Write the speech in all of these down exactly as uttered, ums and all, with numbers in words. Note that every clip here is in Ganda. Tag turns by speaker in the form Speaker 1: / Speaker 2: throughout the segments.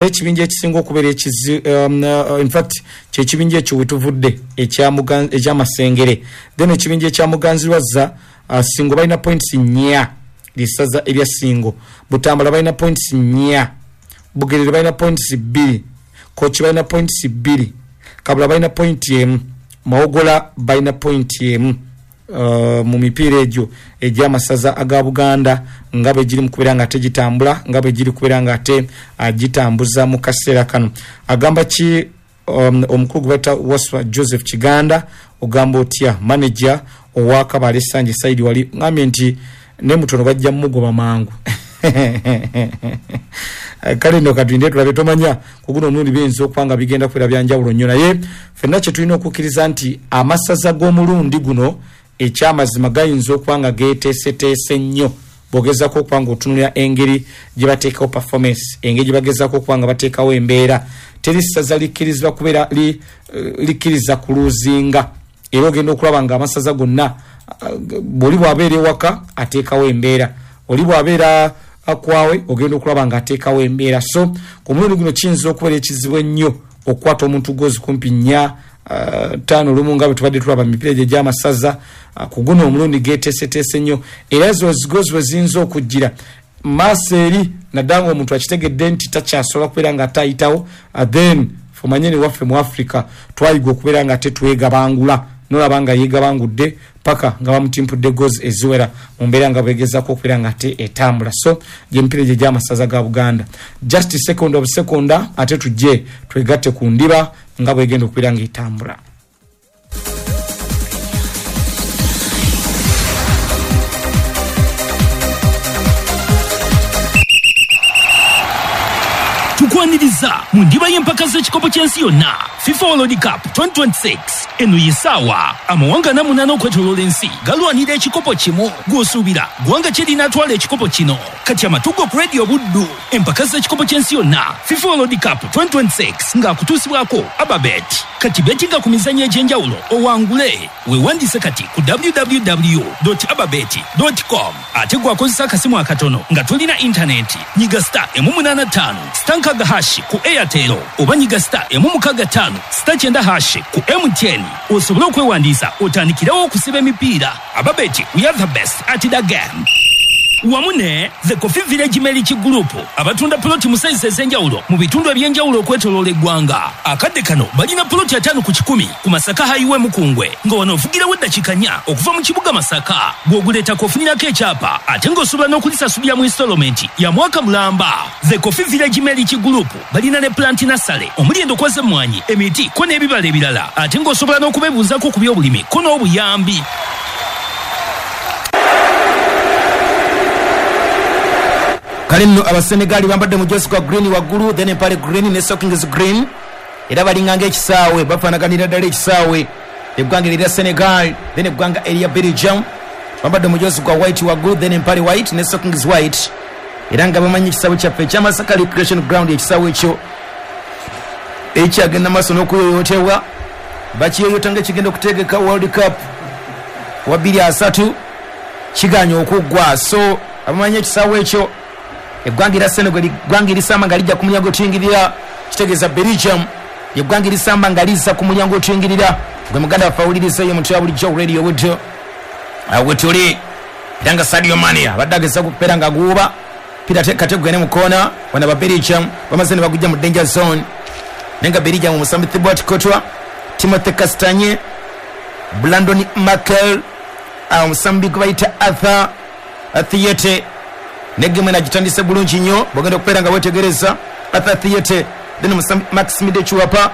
Speaker 1: Ekibinja ekisinga okubeera ekizi um, uh, in fact kyekibinja ekyo wetuvudde ekyamasengere. Then ekibinja ekya Muganzirwazza, uh, Singo balina points nnya, lisaza erya Singo. Butambala balina points nnya, Bugerere balina points bbiri, Kochi balina points bbiri, Kabula balina point emu, Mawogola balina point emu. Uh, mu mipiira egyo egy'amasaza aga Buganda nga bwe giri mu kubeera nga ate gitambula, nga bwe giri kubeera nga ate agitambuza mu kaseera kano. Agamba ki um, omukulu gwe bayita Waswa Joseph Kiganda, ogamba otya manager owa Kabale Sanje Saidi wali ngambye nti ne mutono bajja mugoba mangu. Kale nno katulinde tulabe, tomanya ku guno omulundi biyinza okuba nga bigenda kubeera bya njawulo nnyo, naye ffenna kye tulina okukkiriza nti amasaza g'omulundi guno ekyamazima gayinza okuba nga geeteeseteese nnyo bw'ogezaako okuba nga otunulira engeri gye bateekawo performance, engeri gye bagezaako okuba nga bateekawo embeera. Teri ssaza likkirizibwa kubeera li, likkiriza kuluuzinga, era ogenda okulaba nga amasaza gonna bw'oli bw'abeera ewaka ateekawo embeera, oli bw'abeera akwawe ogenda okulaba nga ateekawo embeera. So ku mulundi guno kiyinza okubeera ekizibu ennyo okukwata omuntu gozi kumpi nnya Uh, ttaano lumu nga bwe tubadde tulaba emipiira egyo egy'amasaza. uh, ku guno omulundi geeteeseteese nnyo, era zo zigozi we ziyinza okujjira maaso eri, naddala ng'omuntu akitegedde nti takyasobola kubeera nga atayitawo. uh, then omanye ne waffe mu Africa twayiga okubeera nga ate twegabangula, nolaba nga yeegabangudde paka nga bamutimpudde gozi eziwera mu mbeera nga bwegezaako okubeera nga ate etambula. So gy'emipiira egyo egy'amasaza ga Buganda. Just second of sekonda ate tujje twegatte ku ndiba nga bwegenda okubeera nga etambula.
Speaker 2: Tukwaniriza mu ndiba y'empaka z'ekikopo ky'ensi yonna FIFA World Cup twenty twenty-six. Eno ye ssaawa amawanga ana munaana okwetooloola ensi galwanira ekikopo kimu. Gw'osuubira ggwanga ki erinaatwala ekikopo kino? Kati amatugo ku Radio Buddu, empaka z'ekikopo ky'ensi yonna FIFA World Cup twenty twenty-six ng'akutuusibwako Ababet. Kati betinga ku mizannyo egy'enjawulo owangule. Weewandiise kati ku w w w dot ababet dot com. Ate gw'akozesa akasimu akatono nga tolina intaneti, nyiga star emu munaana ttaano star nkaaga hashi ku Airtel oba nyiga star emu mukaaga ttaano star kyenda hashi ku M T N osobole okwewandiisa otandikirewo okusiba emipiira. Ababet, we are the best at the game. Wamu ne The Coffee Village Milk Group abatunda poloti mu sayizi ez'enjawulo mu bitundu eby'enjawulo okwetooloola eggwanga. Akadde kano balina poloti ataano ku kikumi ku Masaka Highway Mukungwe, nga wano ovugirawo eddakiika nnya okuva mu kibuga Masaka. Bw'oguleetako ofunirako ekyapa ate ng'osobola n'okulisasulira mu installment ya mwaka mulamba. The Coffee Village Milk Group balina ne plant nursery omuli endokwa z'emmwanyi, emiti ko n'ebibala ebirala, ate ng'osobola n'okubeebuuzaako ku by'obulimi ko n'obuyambi.
Speaker 3: Kale nno Abasenegali bambadde mujozi gwa green waggulu, then empale green ne stockings green, era balinga ng'ekisaawe, bafaanaganira ddala ekisaawe. Eggwanga erya Senegal then eggwanga erya Belgium bambadde mujozi gwa white waggulu, then empale white ne stockings white, era nga bamanyi ekisaawe kyaffe ekya Masaka Recreation Ground. Ekisaawe ekyo ekyagenda maaso n'okuyoyootebwa, bakiyoyoota ng'ekigenda okutegeka World Cup wa bbiri asatu, kiganye okuggwa. So abamanyi ekisaawe ekyo, eggwanga erya Senegal eggwanga erisamba nga lijja ku mulyango otuyingirira, kitegeeza Belgium eggwanga erisamba nga lizza ku mulyango otuyingirira. Gwe muganda waffe awuliriza eyo mutya bulijjo Radio Buddu wetuli, era nga Sadio Mane abadde agezaako okubeera nga aguuba pira kate gugende mu koona. Bano aba Belgium bamaze ne bagujja mu danger zone, naye nga Belgium omusambi Thibaut Courtois, Timothy Castagne, Brandon Markel, omusambi gwe bayita Arthur Theate, negemu nagitandise bulungi nnyo bwogenda okubeera nga weetegereza Arthur Theate, then omusambi Maxime de Chuapa,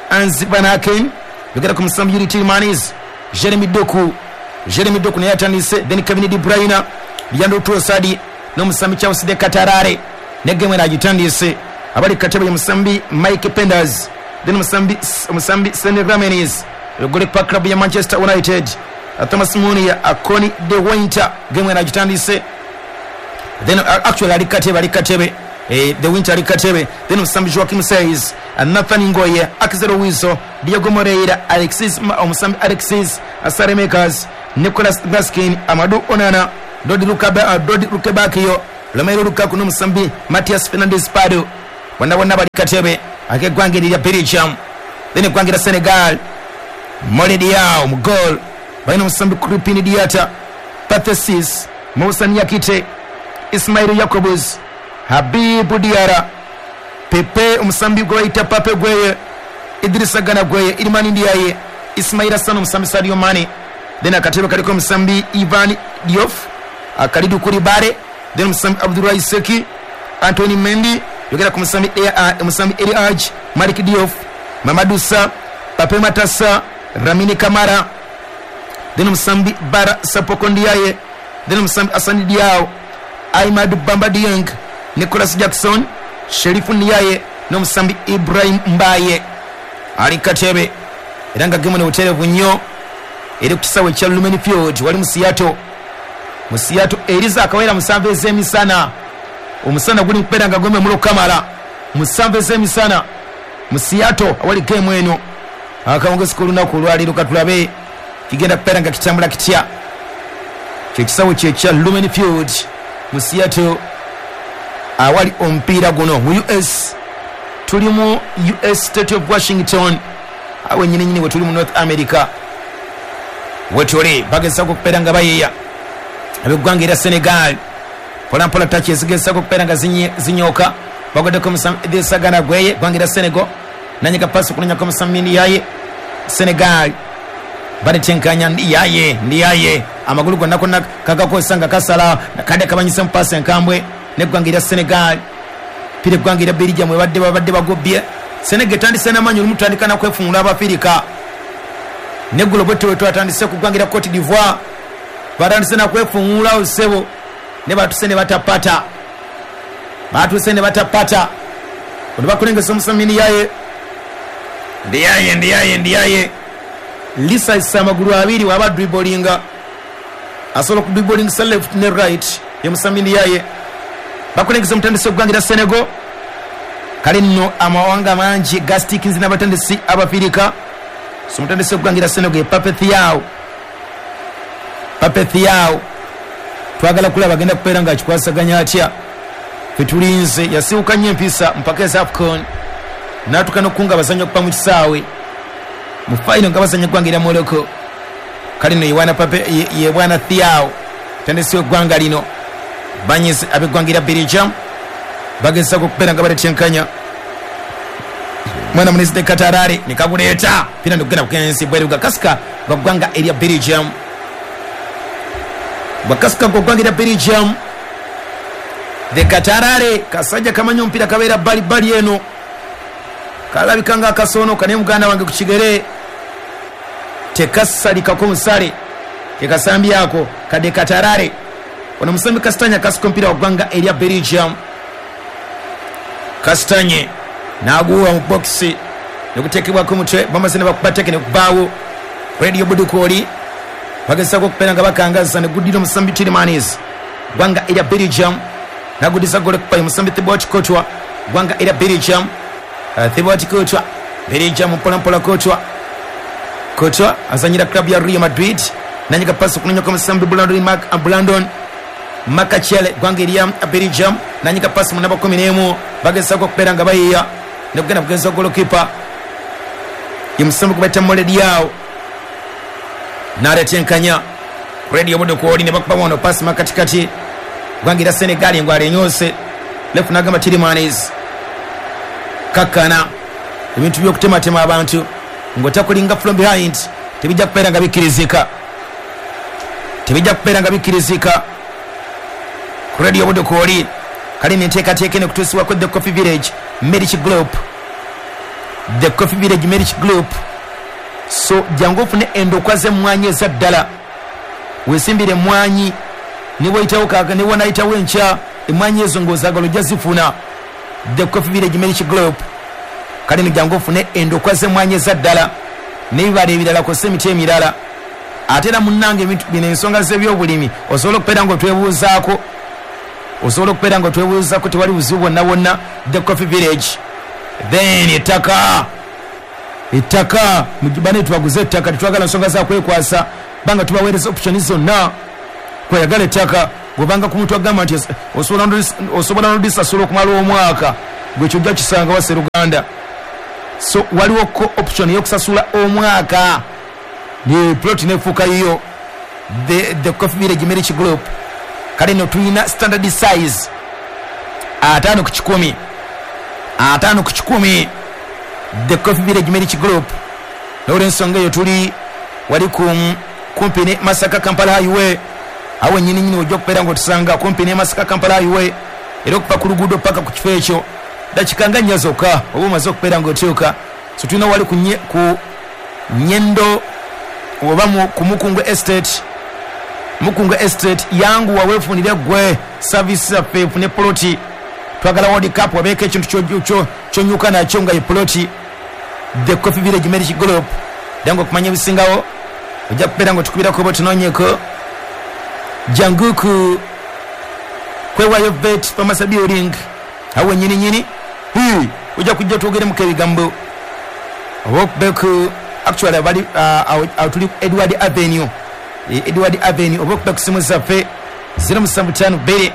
Speaker 3: Anzi Van Aken, yogera ku musambi Yuri Tielemans, Jeremy Doku, Jeremy Doku naye atandise, then Kevin De Bruyne, Leandro Trossard n'omusambi Charles de Katarare, negemu nagitandise. Abali katebe ye musambi Mike Penders, then omusambi omusambi Senne Ramenis, goalkeeper club ya Manchester United, Thomas Munia, Akoni De Winter, gemu nagitandise. Then uh, actually ali katebe ali katebe eh, The Winter ali katebe, then omusambi Joachim Says, Nathan Ngoye, Axel Wizo, Diego Moreira, Alexis omusambi Alexis Saremakers, Nicolas Baskin, Amadou Onana, Dodi Lukaba, uh, Dodi Lukebakio, Romelu Lukaku n'omusambi Matias Fernandes Pardo. Bonna bonna bali katebe ak'eggwanga erya Belgium. Then eggwanga erya Senegal, Mole Diaw mu goal, balina omusambi Krepin Diatta, Pathesis, Moussa Niakite, Ismail Jacobs, Habibu Diarra, Pepe omusambi gwe bayita Pape Gueye, Idrissa Gana Gueye, Iliman Ndiaye, Ismaila Sano omusambi Sadio Mane. Then akatebe kaliko omusambi Ivan Diouf, Khalidou Koulibaly, then omusambi Abdoulaye Seki, Anthony Mendy, yogera ku musambi omusambi Eli Hadj, Malik Diouf, Mamadou Sa, Pape Matassa, Ramini Kamara, then omusambi Bara Sapoko Ndiaye, then omusambi Assane Diao, Ahmadou Bamba Dieng, Nicolas Jackson, Sherifu Ndiaye n'omusambi Ibrahim Mbaye. Ali katebe era nga gemu n'obutereevu nnyo eri ku kisaawe ekya Lumen Field wali mu Seattle. Mu Seattle eriza akawera musanvu ez'emisana. Omusana guli nkubeera nga gweme mulo kamala musanvu ez'emisana mu Seattle awali gemu eno. Akawungezi k'olunaku olwaleero katulabe kigenda kubeera nga kitambula kitya. Kye kisaawe kye ekya Lumen Field mu Seattle awali omupiira guno mu U S. Tuli mu U S State of Washington, awe nyini nyini wetuli mu North America. Wetuli bagezaako okubeera nga bayeeya ab'eggwanga erya Senegal. Mpola mpola taki ezigezaako okubeera nga zinyooka, bagoddeko omusambi Idrissa Gana Gueye, eggwanga erya Senegal nanyiga pasi okunonyako omusambi Ndiaye. Senegal banetenkanya Ndiaye, Ndiaye amagulu gonna gonna kagakozesa nga kasala kadde kabanyise mu pasi enkambwe n'eggwanga erya Senegal. Pira eggwanga erya Belgium babadde babadde bagobbye. Senegal etandise n'amaanyi olumu tutandika nakwefungula Abafirika. Neggulo bwe tuwe twatandise ku ggwanga erya Cote d'Ivoire, batandise nakwefungula osebo ne batuse ne batapata, batuse ne batapata. Ono bakulengeza omusambi Ndiaye, Ndiaye, Ndiaye, Ndiaye lisayisa amagulu abiri waba dribblinga, asobola okudribblingisa left ne right ye musambi Ndiaye. Bakulengeza omutandisi w'eggwanga erya Senegal. Kale nno amawanga mangi gastikinzi n'abatandisi Abafirika. So omutandisi w'eggwanga erya Senegal ye Pape Thiaw. Pape Thiaw twagala kulaba agenda kubeera nga akikwasaganya atya. Ffe tulinze, yasiwuka nnyo empisa mpaka eza AFCON n'atuuka n'okukunga abazannyi okuva mu kisaawe mu fayino nga bazannya eggwanga erya Morocco. Kale nno ye Pape ye bwana Thiaw mutandisi w'eggwanga lino. Banyize ab'eggwanga erya Belgium bagezaako okubeera nga baletenkanya mwana munezi de Katarare nekaguleeta pira ndikugenda kugensi bweru gakasika gwa ggwanga erya Belgium, gwakasika gwa ggwanga erya Belgium. De Katarare kasajja kamanyi omupiira kabeera bbali bbali eno, kalabika nga akasoonoka naye muganda wange ku kigere tekasalikako musale kekasambyako kade Katarare. Ono musambi Kastanye akasika omupiira wa ggwanga erya Belgium. Kastanye n'aguwa mu bokisi nekuteekebwako omutwe, bamaze ne bakuba teke nekubaawo. Radio Budukoli bagezaako okubeera nga bakangaza ne guddira omusambi Tielemans, ggwanga erya Belgium n'agudiza golokipa ye musambi Thibaut Courtois, ggwanga erya Belgium. Thibaut Courtois, Belgium mpola mpola Courtois, Courtois azanyira club ya Real Madrid nanyiga pasi okunonyako omusambi Brandon Mark Brandon Makachele, ggwanga erya Belgium nanyiga pasi mu namba kumi n'emu, bagezaako okubeera nga bayiiya nekugenda kugenza golokipa ye musambi gwe bayita Mole Diaw n'aletenkanya Radio Budukoli ne bakuba wano pasi makatikati ggwanga erya Senegal engwala enyoose. Lefu n'agamba Tielemans kakkana ebintu by'okutematema abantu ng'otakulinga from behind tebijja kubeera nga bikkirizika, tebijja kubeera nga bikkirizika. Ku Radio Budukoli kale n'enteekateeka eno okutuusibwako The Coffee Village Medici Group, The Coffee Village Medici Group. So jangu ofune endokwa z'emmwanyi eza ddala, weesimbire emmwanyi ne bw'oyitawo kaaka ne bw'onaayitawo enkya, emmwanyi ezo ng'ozaagala ojja zifuna. The Coffee Village Medici Group. Kale nno jangu ofune endokwa z'emmwanyi eza ddala n'ebibala ebirala kw'ossa emiti emirala. Ate era munnange ebintu bino ensonga z'ebyobulimi osobola okubeera ng'otwebuuzaako, osobola okubeera ng'otwebuuzaako, tewali buzibu bwonna bwonna. The Coffee Village. Then ettaka, ettaka bane tubaguze ettaka, tetwagala nsonga za kwekwasa, banga tubaweereza option zonna. Kweyagala ettaka bw'obanga ku muntu agamba nti osobola osobola n'odisasula okumala omwaka, Gwe kyojja kisanga wa Seruganda. So waliwo ko option y'okusasula omwaka ni plot nefuuka yiyo. The, the Coffee Village Marriage Group kale no tulina standard size ataano ku kikumi, ataano ku kikumi. The Coffee Village Marriage Group n'olwensonga eyo tuli wali ku kumpi ne Masaka Kampala Highway, awo nyini nyini ojja okubeera ng'otusanga kumpi ne Masaka Kampala Highway, era okuva ku luguudo paka ku kifo ekyo dakika nga nnya zokka oba omaze okubeera ng'otuuka. So tulina wali ku, nye, ku Nyendo oba ku Mukungu Estate. Mukungu Estate yangu waweefunire gwe service yaffe efune poloti. Twagala World Cup wabeeko ekintu kyonyuka nakyo nga ye poloti. The Coffee Village Marriage Group jangu okumanya ebisingawo ojja kubeera ng'otukubirako oba otunoonyeeko. Jangu ku kwewayo vet pharmacy building awo nyini nyini ojja kujja twogeremuko ebigambo oba okubeku actually abali uh, tuli Edward Avenue, Edward Avenue oba okuba ku simu zaffe zero musanvu ttaano bbiri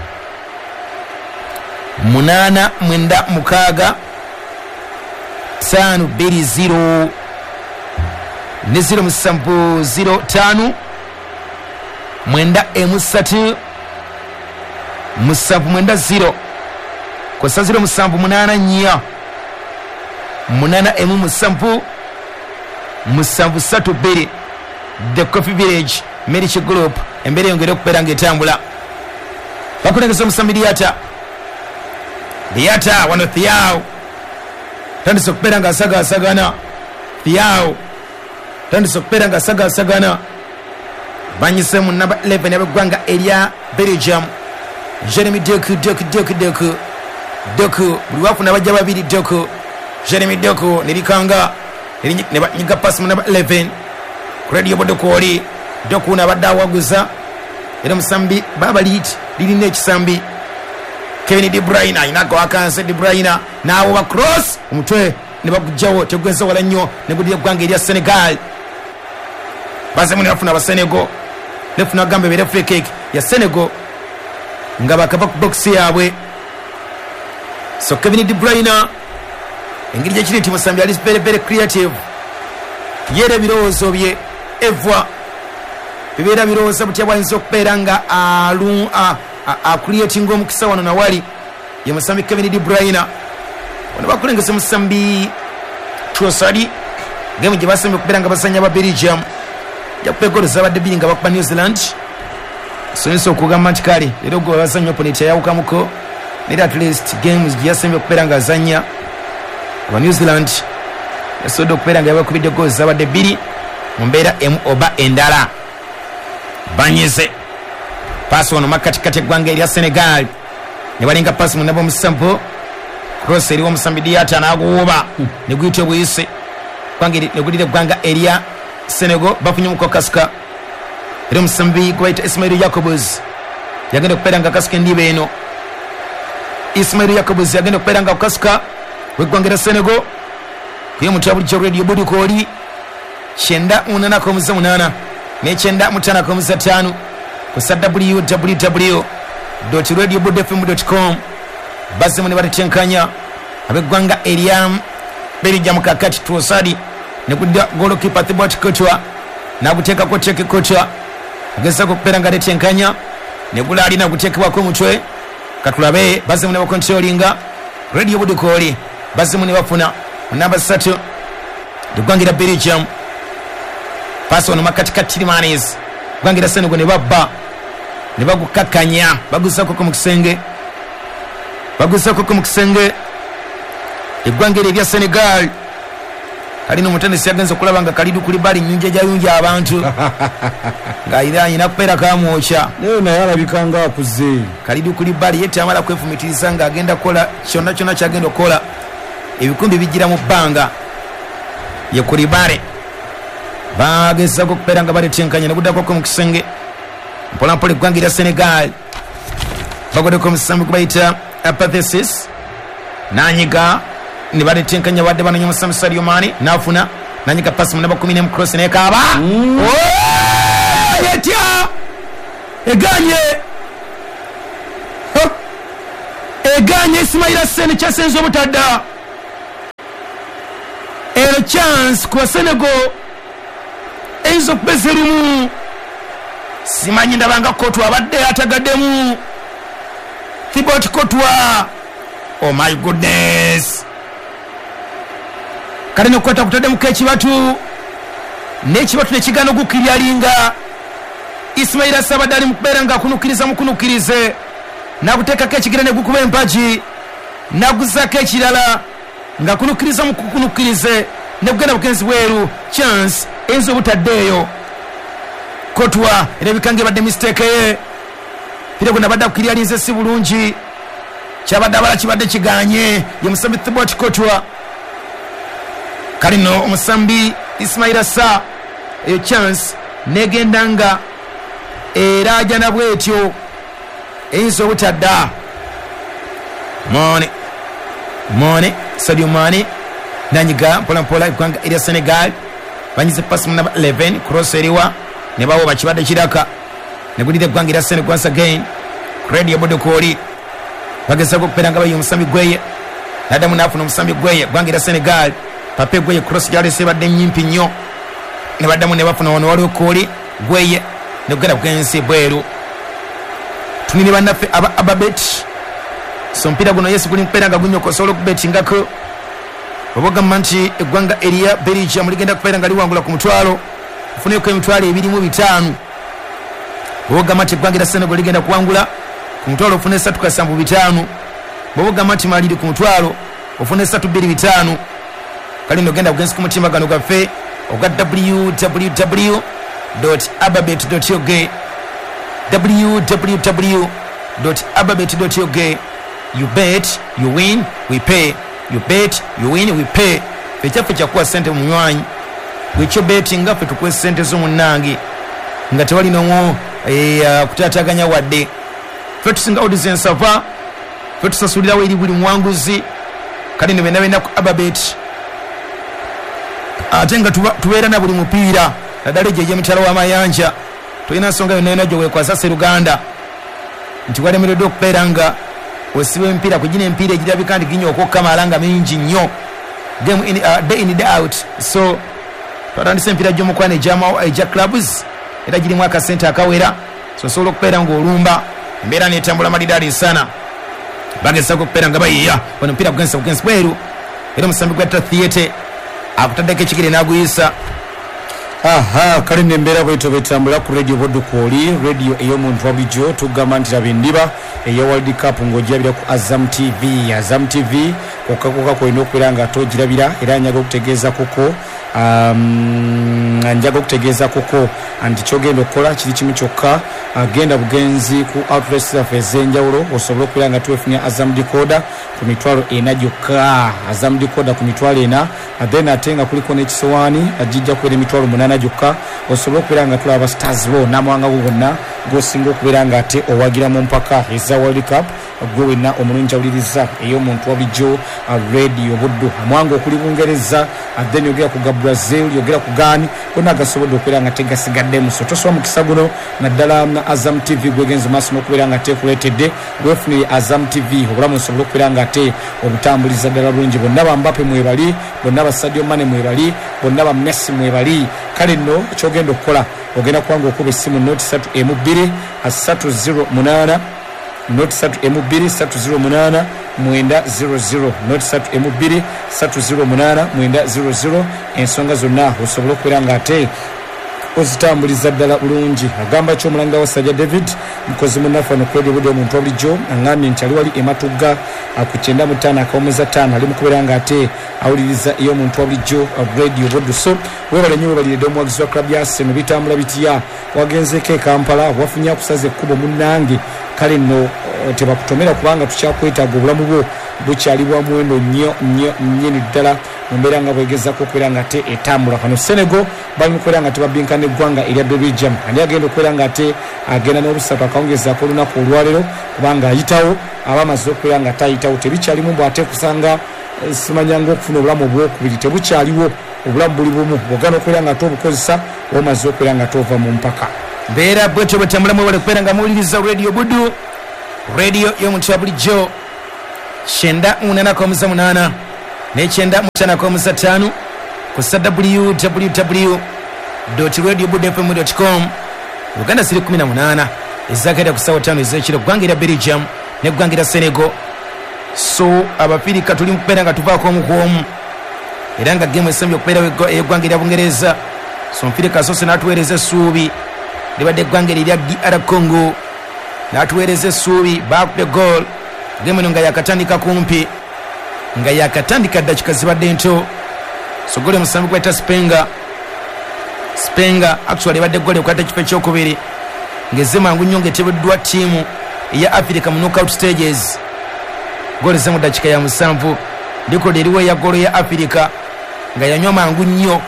Speaker 3: munaana mwenda mukaaga ttaano bbiri zero ne zero musanvu zero ttaano mwenda emu ssatu musanvu mwenda zero kosa zero musanvu munaana nnya munaana emu musanvu musanvu ssatu bbiri. The Coffee Village Marriage Group embeera eyongere okubeera ng'etambula. Bakulengeza omusambi Diata. Diata wano Thiaw tandise okubeera ng'asagaasagana. Thiaw tandise okubeera ng'asagaasagana. Banyise mu namba eleven ab'eggwanga erya Belgium. Jeremy Doku Doku Doku Doku Doku buli wafuna bajja babiri Doku Jeremy Doku nerikanga ne banyiga pass mu namba eleven Radio Bodokoli Doku nabadde awaguza era musambi baba liit lirina ekisambi Kevin De Bruyne ayinako akanse De Bruyne n'awoba cross omutwe ne bagujjawo tegweza wala nnyo ne gudira eggwanga erya Senegal. Bazemu ne bafuna abasenego nefuna agamba ebeere free kick ya Senegal nga bakava ku box yaabwe. So Kevin De Bruyne engeri gyekiri nti musambi ali very very creative, yera ebirowoozo bye evwa bibeera birowooza butya bwayinza okubeera nga acreatinga omukisa wano nawali ye musambi Kevin De Bruyne. Wano bakulengesa musambi Trossard gemu gye basembye okubeera nga basanya ba Belgium jakuba egoolo zabadde bbiri nga bakuba New Zealand. Soyinza okugamba nti kale leero gwe bazanya opponent yayawukamuko, naye at least games gye yasembye okubeera nga azanya aba New Zealand yasobodde okubeera nga yabakubidde goolo zabadde bbiri mu mbeera emu oba endala. Banyize paasi wano makatikati eggwanga erya Senegal ne balinga paasi mu namba omusanvu cross eriwo omusambi Diata n'aguwuba ne guyita obuyise ne gulira eggwanga erya Senegal. Bafunye muko kasuka era omusambi gwe bayita Ismail Jacobs yagenda okubeera nga kasuka endiba eno. Ismail Jacobs yagenda okubeera nga kasuka w'eggwanga erya Senegal kuye mutya bulijjo Radio Budikoli kyenda munaana komuza munaana n'ekyenda mutaano komuza ttaano kusa w w w dot radio bud f m dot com. Bazzemu ne batetenkanya ab'eggwanga erya Belgium kakati Trossard ne kudda goalkeeper Thibaut Courtois n'aguteekako Teke Courtois agezaako okubeera nga atetenkanya ne gulaali naguteekebwako omutwe. Katulabe bazzemu ne bakontrolinga Radio Budikoli bazzemu ne bafuna namba ssatu eggwanga erya Belgium. Paasi wano makatikati Tielemans eggwanga erya Senegal ne babba ne bagukakkanya baguzzaako mu kisenge baguzzaako mu kisenge eggwanga eryo erya Senegal. Kalina omutendesi yagenze okulaba nga Kalidou Koulibaly nnyunja gyayunja abantu ng'ayina ayina kubeera kamwokya
Speaker 1: naye naye alabika nga akuze.
Speaker 3: Kalidou Koulibaly ye tamala kwefumitiriza ng'agenda kukola kyonna kyonna kyagenda okukola, ebikumbi bijjira mu bbanga. Ye Koulibaly bagezaako okubeera nga baletenkanya ne guddako mu kisenge mpolampola eggwanga erya Senegal. Bagoddeko omusambi gwe bayita Apathesis n'anyiga ne baletenkanya badde banoonya omusambi Sadio Mane n'afuna n'anyiga pasi mu namba kumi n'emu cross n'ekaaba etya eganye eganye Ismaila Sene kyasenze obutadda. Ero chance kwa Senegal eyinza okubeza erimu. Simanyi ndabanga Kotwa abadde atagaddemu. Thibaut Kotwa, oh my goodness, kale nokukwata kutaddemu ekibatu n'ekibatu nekigaana ogukiryalinga. Ismaila Sabadde ali mukubeera nga akunukiriza mukunukirize, nakuteekako ekigere ne gukuba empagi, naguzaako ekirala nga kunukiriza mukukunukirize ne kugenda bugenzi bweru. Chance eyinza obutaddeeyo. Kotwa erabika nga ebadde mistake ye, pira gwe nabadde akukiryalinze si bulungi, kyabadde abala kibadde kiganye. Ye musambi Thibaut Kotwa. Kale nno omusambi Ismaila Sa eyo chance negenda nga erajana bwetyo eyinza obutadda. Mane Mane Sadio Mane nanyiga mpola mpola eggwanga erya Senegal banyize pasi mu namba eleven, cross eriwa ne bawo bakibadde kiraka negulira eggwanga erya Senegal once again. Radio Bodokoli bagezaako okubeera nga bayiye omusambi Gweye, naddamu n'afuna omusambi Gweye. Eggwanga erya Senegal Pape Gweye cross gyalese ebadde nnyimpi nnyo, ne baddamu ne bafuna wano waliwo Koli Gweye negugenda bugenzi bweru. Tunine bannaffe aba Ababet, so omupiira guno yesu guli mukubeera nga gunyoka, osobola okubetingako oba ogamba nti eggwanga erya Belgium ligenda kubeera nga liwangula ku mutwalo, ofuneko emitwalo ebiri mu bitaano. Bw'oba ogamba nti eggwanga erya Senegal ligenda kuwangula ku mutwalo, ofune esatu kasanvu bitaano. Bw'oba ogamba nti Maliri ku mutwalo, ofune esatu bbiri bitaano. Kale nno genda bugenzi ku mutimbagano gwaffe ogwa w w w dot ababet dot ug, w w w dot ababet dot ug. You bet, you win, we pay. You bet, you win, we pay. Ffe kyaffe kyakuwa ssente munywanyi, bwekyo betinga ffe tukuwe ssente z'omunnange nga tewali n'omwo kutaataganya wadde. Ffe tusinga odds ensava, ffe tusasulirawo eri buli muwanguzi. Kale nno byonna byonna ku Ababet, ate nga tubeera na buli mupiira naddala egyo egy'emitala w'amayanja. Tolina nsonga yonna yonna gyeweekwasa Sseruganda nti walemereddwa okubeera nga osiba emipiira ku gino emipiira egirabika nti ginyooka okukamala nga mingi nnyo, game in, uh, day in day out. So twatandise emipiira gy'omukwano egya clubs era girimu akasente akawera, so osobola okubeera ng'olumba embeera n'etambula malidaadi sana. Bagezaako okubeera nga bayiya wano omupiira gugenza bugenzi bweru, era omusambi gwa Theatre akutaddeko ekigere n'aguyisa.
Speaker 1: Aha, kale nembeera bwetyo betambula ku Radio Bodokoli, radio ey'omuntu wa bulijjo. Tugamba nti laba endiba eya World Cup ng'ogirabira ku Azam T V. Azam T V kokka kokka kwolina okubeera nga ate ogirabira, era njaga okutegeeza koko um, njaga okutegeeza koko nti kyogenda okukola kiri kimu kyokka, genda bugenzi ku outlets zaffe ez'enjawulo osobole okubeera nga twefunira Azam Decoder ku mitwalo ena gyokka. Azam Decoder ku mitwalo ena, then ate nga kuliko n'ekisowaani agijja kubeera emitwalo munaana gyokka, osobola okubeera nga tulaba stars bo n'amawanga go gonna g'osinga okubeera nga ate owagira mu mpaka eza World Cup. Gwe wenna omulungi awuliriza ey'omuntu wa bulijjo Radio Buddu, amawanga okuli Bungereza, then yogera ku ga Brazil, yogera ku Ghana, gonna gasobodde okubeera nga tegasigaddemu. So tosoba mukisa guno naddala na Azam T V gwegenze maaso n'okubeera nga tekuleetedde. Weefunire Azam T V obulamu osobole okubeera nga ate obutambuliza ddala bulungi. Bonna ba Mbappe mwebali, bonna ba Sadio Mane mwebali, bonna ba Messi mwebali. Kale nno kyogenda okukola ogenda kubanga okuba essimu noti ssatu emu bbiri ssatu zero munaana noti ssatu emu bbiri ssatu zero munaana mwenda zero zero noti ssatu emu bbiri ssatu zero munaana mwenda zero zero. Ensonga zonna osobola okubeera nga ate ozitambuliza ddala bulungi. Agamba ki omulanga wa Sajja David mukozi munnaffe wano ku Radio Buddu omuntu wa bulijjo, aŋŋambye nti ali wali ematugga ku kyenda mu ttaano akawummuza ttaano, ali mu kubeera nga ate awuliriza ey'omuntu wa bulijjo Radio Buddu. So weebale nnyo, weebaliredde omuwagizi wa club ya Arsenal. Bitambula bitya? Wagenzeeko e Kampala, wafunye akusaza ekkubo munnange. Kale nno tebakutomera kubanga tukyakwetaaga, obulamu bwo bukyali bwa muwendo nnyo nnyo nnyini ddala mu mbeera nga bwegezaako okubeera nga ate etambula. Kano Senegal bali mu kubeera nga tebabinkana eggwanga erya Belgium. Ani agenda okubeera nga ate agenda n'obusatu akawungezaako olunaku olwaleero, kubanga ayitawo aba amaze okubeera nga tayitawo. Tebikyalimu mbu ate kusanga simanyanga okufuna obulamu obwokubiri, tebukyaliwo. Obulamu buli bumu, bw'ogaana okubeera nga ate obukozesa omaze okubeera nga tova mu mpaka.
Speaker 3: Mbeera bwetyo bwetambula, mwewale kubeera nga muwuliriza Radio Buddu, radio y'omuntu ya bulijjo. Kyenda munana komusa munana nekyenda mutana komusa tano kusa w w w dot radio budde f m dot com. Uganda ziri kumi na munana ezagenda ku ssaawa ttaano ez'ekiro, ggwanga erya Belgium n'eggwanga erya Senegal. So abafirika tuli mu kubeera nga tuvaako omu ku omu, era nga gemu esembye okubeerawo ey'eggwanga erya Bungereza. So Nfirika asoose n'atuweereza essuubi libadde eggwanga erya D R Congo, n'atuweereza essuubi baakubye goal. Gemu eno nga yakatandika kumpi, nga yakatandika ddakika zibadde nto. So goli omusambi gweta Spenga, Spenga actually ebadde goli ekwata ekifo ekyokubiri ng'ezze mangu nnyo ng'eteebeddwa ttiimu eya Africa mu knockout stages. Goli ze mu ddakiika ya musanvu, likodi eriwo eya golo ya Africa nga yanywa mangu nnyo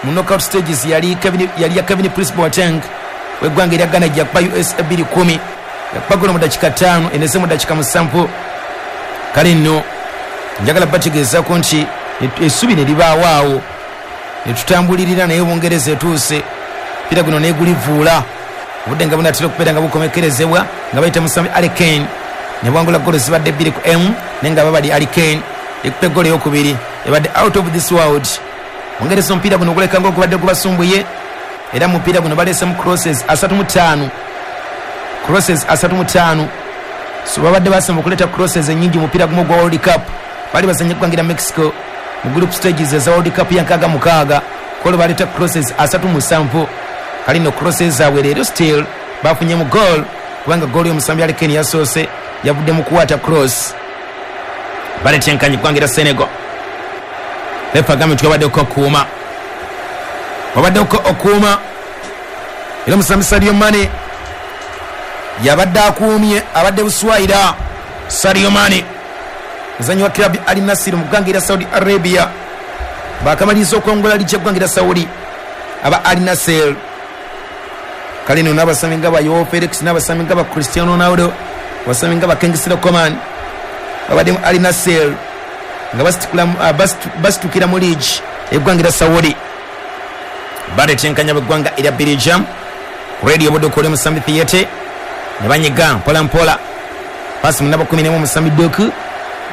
Speaker 3: mu knockout stages yali Kevin, yali ya Kevin Prince Boateng w'eggwanga erya Ghana gyakuba U S bbiri kumi, yakuba golo mu ddakiika ttaano eneze mu ddakiika musanvu. Kale nno njagala bategeezaako nti essubi ne libaawo awo ne tutambulirira, naye Bungereza etuuse mpira guno neegulivuula obudde nga bunatera okubeera nga bukomekerezebwa nga bayita musambi Harry Kane ne bwangula golo zibadde bbiri ku emu, naye nga babali Harry Kane ekupa eggolo eyokubiri ebadde out of this world. Bungereza omupiira guno oguleka ng'ogubadde gubasumbuye, era mu mupiira guno baleesemu crosses asatu mu ttaano, crosses asatu mu ttaano. So babadde basemba okuleeta crosses ennyingi mu mupiira gumu ogwa World Cup. Bali bazanye eggwanga erya Mexico mu group stages eza World Cup ya nkaaga mukaaga, kolo baleeta crosses asatu musanvu. Kale nno crosses zaabwe leero still bafunye mu goal, kubanga goal y'omusambi Harry Kane yasoose yavudde mu kuwata cross. Baleeta enkanyi eggwanga erya Senegal. Refa agambye nti wabaddeko okuuma, wabaddeko okuuma, era omusambi Sadio Mane yabadde akuumye, abadde buswayira. Sadio Mane muzannyi wa club Al Nassr mu ggwanga erya Saudi Arabia, bakamaliriza okwongola ligi y'eggwanga erya Saudi aba Al Nassr. Kale nno n'abasambi nga ba Joao Felix, n'abasambi nga ba Cristiano Ronaldo, abasambi nga ba Kingsley Coman babadde mu Al Nassr nga basitukira mu liigi y'eggwanga erya Saudi. Baleeta b'eggwanga erya Belgium. Radio Budde okole omusambi Theate ne banyiga mpola mpola, pasi mu namba kumi n'emu omusambi Doku,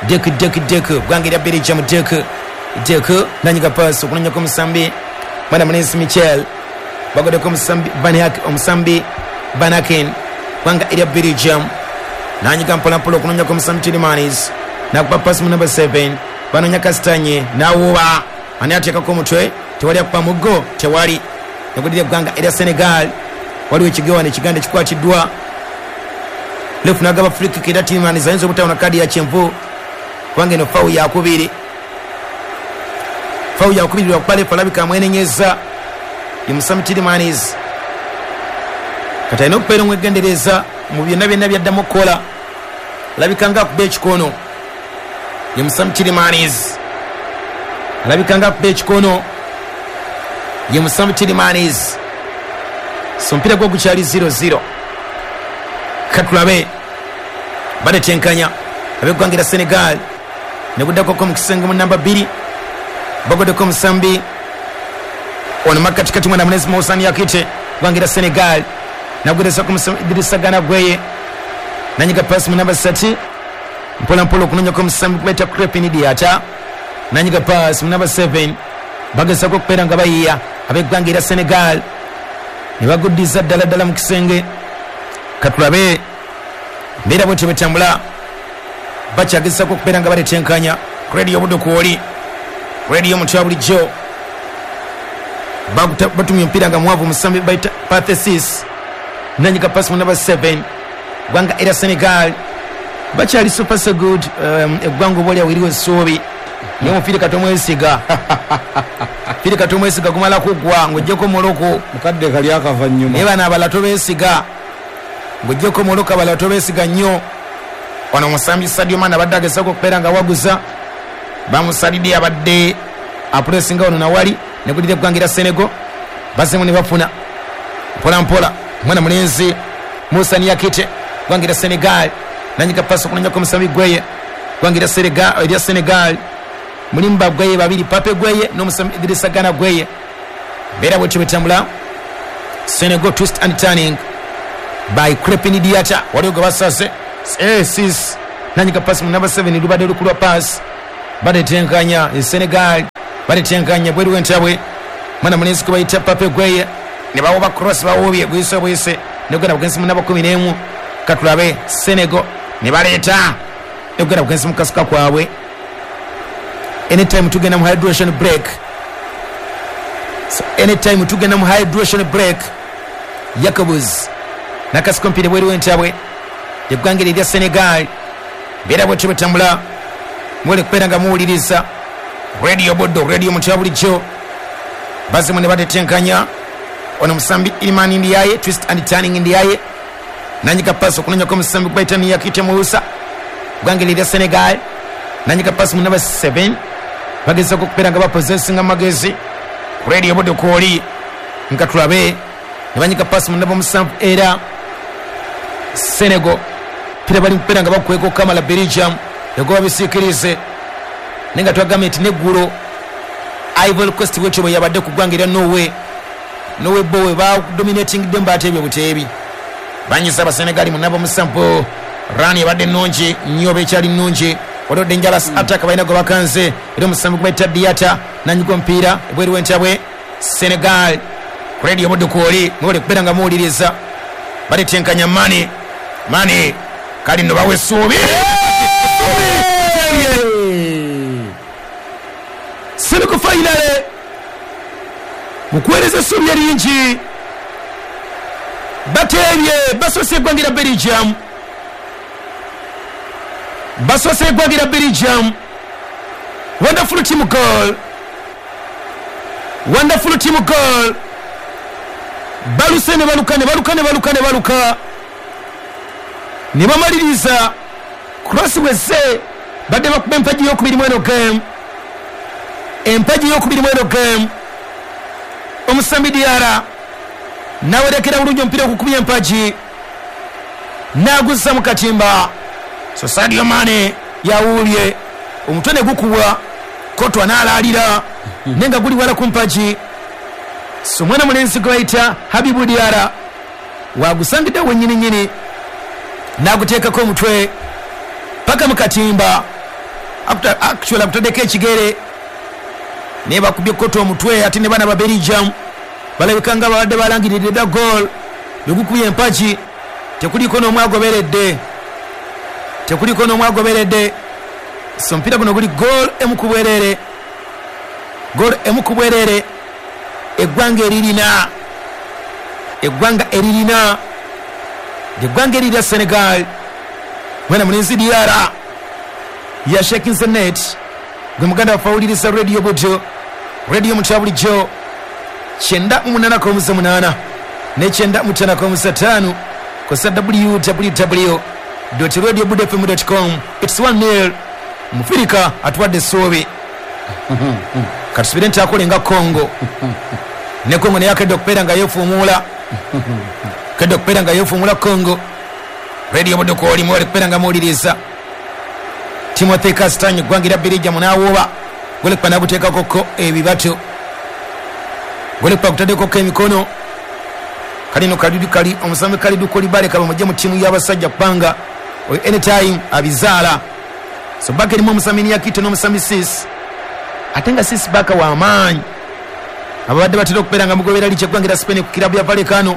Speaker 3: Doku Doku Doku, ggwanga erya Belgium Doku Doku nanyiga pasi okunonyako omusambi mwana mulenzi Michel, bagoddeko omusambi Van omusambi Vanaken, ggwanga erya Belgium nanyiga mpola mpola okunonyako omusambi Tielemans, nakuba pasi mu namba seven banonya Kastanye nawuba, ani ateekako omutwe, tewali akuba muggo, tewali. Negudira eggwanga erya Senegal, waliwo ekigewane ekiganda ekikwatiddwa. Lefu n'agaba free kick era Tielemans ayinza obutawona kaadi ya kyenvu kubanga eno fawu yakubiri, fawu yakubiri lwakuba lefu alabika amwenenyeza ye musambi Tielemans. Kati alina okubeera omwegendereza mu byonna byonna byaddamu okukola, alabika nga akuba ekikono ye musambi Tielemans, alabika nga akuba ekikono ye musambi Tielemans. So omupiira gwo gukyali zero zero. Katulabe baletenkanya ab'eggwanga erya Senegal ne guddako mu kisenge mu namba bbiri, bagoddeko omusambi ono makatikati mwana munezi Moussani Yakite, ggwanga erya Senegal nagwerezako omusambi Idrissa Gana Gueye, nanyiga pasi mu namba ssatu mpola mpola okunonyako omusambi kubaita Crepin Diata, nanyiga pasi mu namba seven bagezako okubeera nga bayiya ab'eggwanga erya Senegal ne baguddiza ddala ddala mu kisenge. Katulabe mbeera bwetyo bwetambula, bakyagezako okubeera nga baletenkanya. Radio Budde kwoli, radio omuntu wa bulijjo batumye omupiira nga mwavu omusambi bayita Pathesis, nanyiga pasi mu namba seven ggwanga erya Senegal. Bakyali super so good, eggwanga oba oliawo eriwo essuubi, naye omupiira katomwesiga, omupiira katomwesiga gumala kuggwa ng'oggyeko Morocco,
Speaker 1: mukadde kali akava nnyuma,
Speaker 3: naye bano abalala tobeesiga, ng'oggyeko Morocco abalala tobeesiga nnyo. Ono omusambi Sadio Mane abadde agezaako okubeera nga waguza, bamusalidde abadde apulesinga wano nawali negudira eggwanga erya Senegal, bazzemu ne bafuna mpola mpola mwana mulenzi Moussa Niakite, ggwanga erya Senegal nanyiga pasi okunonyako omusambi Gueye, ggwanga erya Senegal. Mulimu ba Gueye babiri, Pape Gueye n'omusambi Idrissa Gana Gueye. Mbeera bwetyo bwetambula. Senegal twist and turning by Crepin Diata, waliwo gwe basase eh, sis Nanyika pass mu number seven lubadde lukulwa pass. Badetenkanya e Senegal. Badetenkanya bweru w'entabwe. Mwana mulenzi ko bayita Pape Gueye. Ne bawoba cross bawobye bwise bwise. Negenda bugenzi mu namba kumi n'emu. Katulabe Senegal ne baleeta. Negenda bugenzi mu kasuka kwabwe. Anytime tugenda mu hydration break. So anytime tugenda mu hydration break. Jacobs nakasuka mpira bweru w'entabwe. Eggwanga erya Senegal. Beera bwetyo bwetambula. Mwele kubeera nga muwuliriza Radio Bodo, Radio Mutya bulijjo. Bazimu ne batetenkanya. Ono musambi Iliman Ndiaye, twist and turning Ndiaye. Nanyika pass okunonyako omusambi gwe Yakite Musa. Eggwanga erya Senegal. Nanyika pass mu number seven. Bagezaako okubeera nga bapossessinga amagezi. Radio Bodo kwoli nga tulabe. Ne banyika pass mu namba musanvu era Senegal. Pira bali kubeera nga bakweko Kamala Belgium. Yagoba bisikirize. Nenga twagambye nti neggulo Ivory Coast bwetyo bwe yabadde ku ggwanga erya Norway. Norway bowe ba dominating them batebye buteebi. Banyisa Abasenegali mu namba musanvu. Rani ebadde nnungi nnyo bekyali nnungi. Waliwo dangerous attack balina gwe bakanze. Era omusambi gwe bayita Diatta nanyiga omupiira ebweru w'entabwe. Senegal. Radio Bodo kwoli mwole kubeera nga muwuliriza. Batetenkanya Mane. Mane kali nno bawa essuubi. Senegal finale. Mukuweereza essuubi eringi. Bateebye basoose eggwanga erya Belgium. Basoose eggwanga erya Belgium. Wonderful team goal. Wonderful team goal. Baluse ne baluka ne baluka ne baluka ne baluka. Ne bamaliriza cross wese badde bakuba empagi y'okubiri mweno game. Empagi y'okubiri mweno game. Omusambi Diarra nawerekera bulungi omupiira okukubya empagi n'aguzza mu katimba. So Sadio Mane yawuubye omutwe ne gukubwa Kotwa n'alaalira naye nga guli wala ku mpagi. So mwana mulenzi gwe bayita Habibu Diarra wagusangidde wennyini nnyini n'aguteekako omutwe paka mu katimba. Actually akutaddeko ekigere naye bakubye Kotwa omutwe ate ne baana ba Belgium balabika nga babadde balangiridde dda goal. Bwe empagi tekuliko n'omu agoberedde. Tekuliko n'omu agoberedde. So omupiira guno guli goal emu ku bwerere. Goal emu ku bwerere. Eggwanga eririna. Eggwanga eririna. Eggwanga erira Senegal. Mwana mulenzi Diarra ya shaking the net. Gwe muganda waffe awuliriza Radio Bodo. Radio Mutya bulijjo. Kyenda mu munaana ku munaana ne kyenda mu ttaano ku ttaano kosa w w w dot radio budo f m dot com. It's one nil. Mufirika atuwadde essuubi. Katusubire nti akole nga Congo. Ne Congo naye akedde okubeera nga yeefuumuula. Akedde okubeera nga yeefuumuula Congo. Radio Bodo kwoli mwali kubeera nga muwuliriza. Timothy Castagne eggwanga erya Belgium n'awuuba. Golekupa n'aguteekako ebibatu. Golekupa agutaddekoko emikono. Kalino kalidu kali omusambi Kalidou Koulibaly kaba mujje mu ttiimu y'abasajja kubanga oyo anytime abizaala. So baka erimu omusambi Niakite n'omusambi Sis. Ate nga Sis baka wa maanyi. Ababadde batera okubeera nga mugobera licha eggwanga erya Spain ku kirabu ya Vallecano.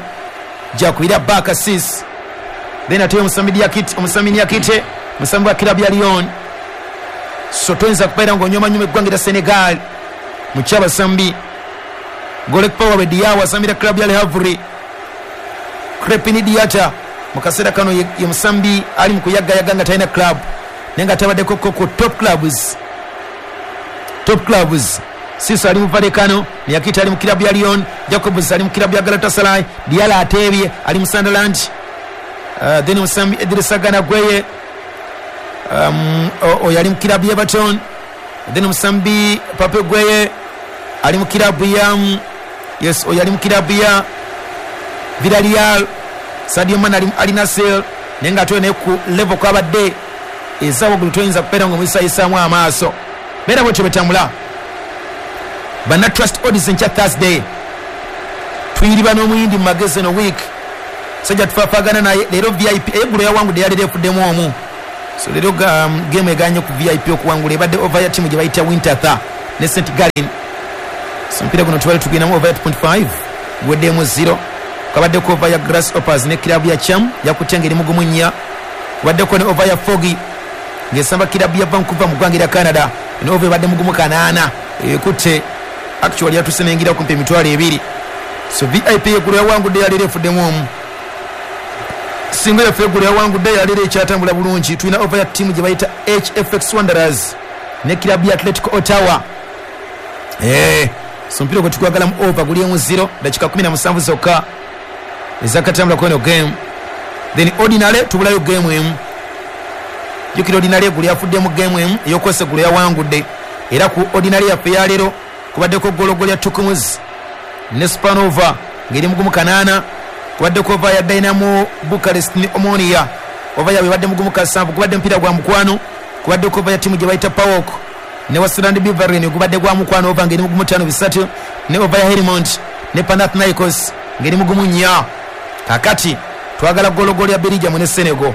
Speaker 3: Gyakubira baka Sis. Then ate omusambi Niakite, omusambi Niakite, omusambi wa kirabu ya Lyon. So toyinza kubeera ng'onyoomanyuma eggwanga erya Senegal mu kyabasambi. Golekupa waabwe Diaw asambira kirabu ya Le Havre. Crepin Diatta mu kaseera kano ye, ye musambi ali mu kuyagayaga nga talina club naye nga tabaddeko ku top clubs. Top clubs. Siso ali mu Vallecano, Niakite ali mu kirabu ya Lyon, Jacobs ali mu kirabu ya Galatasaray, Diarra ateebye ali mu Sunderland. Uh, then musambi Idrissa Gana Gueye um, oyo ali mu kirabu ya Everton. Then musambi Pape Gueye ali mu kirabu ya yes oyo ali mu kirabu ya Villarreal. Sadio Mane ali, ali Nasser naye nga ate naye ku level kwabadde eza waggulu toyinza kubeera ng'omuyisayisaamu amaaso. Beera bwetyo bwetambula. Banna Trust Odds enkya Thursday tuyiriba n'omuyindi mu magezi eno week. Sajja tufaafagana naye leero V I P eggulo yawangudde yaleero efuddemu omu. So leero um, game eganye ku V I P okuwangula ebadde over ya timu gye bayita Winterthur ne Saint Gallen. So omupiira guno tubadde tugendamu over ya two point five gweddemu zero. Kabaddeko over ya Grasshoppers ne kirabu ya Cham yakutte ng'eri mugumu nnya. Kubaddeko ne over ya Foggy ng'esamba kirabu ya Vancouver mu ggwanga erya Canada. Eno over ebadde mugumu kanaana ekutte actually yatuse n'eyingira kumpi emitwalo ebiri. So V I P eggulo yawangudde yaleero efuddemu omu. Singa yaffe eggulo yawangudde yaleero ekyatambula bulungi. Tulina over ya ttiimu gye bayita H F X Wanderers ne kirabu ya Atletico Ottawa. Eh, so omupiira gwe tukwagalamu over guli emu zero dakika kumi na musanvu zokka ezakatambula ku eno game. Then ordinary tubulayo game emu. Jjukira ordinary eggulo yafuddemu game emu ey'okwesa eggulo yawangudde. Era ku ordinary yaffe eyaleero kubaddeko gologolo ya Tukumuzi ne Spanova ng'eri mugumu kanaana. Kubaddeko over ya Dynamo Bucharest ne Omonia over yaabwe ebadde mugumu kasanvu. Kubadde mupiira gwa mukwano. Kubaddeko over ya ttiimu gye bayita Pawok ne Westland Beveren gubadde gwa mukwano over ng'eri mugumu ttaano bisatu. Ne over ya Helmont ne Panathinaikos ng'eri mugumu nnya. Kakati twagala gologolo ya Belgium ne Senegal.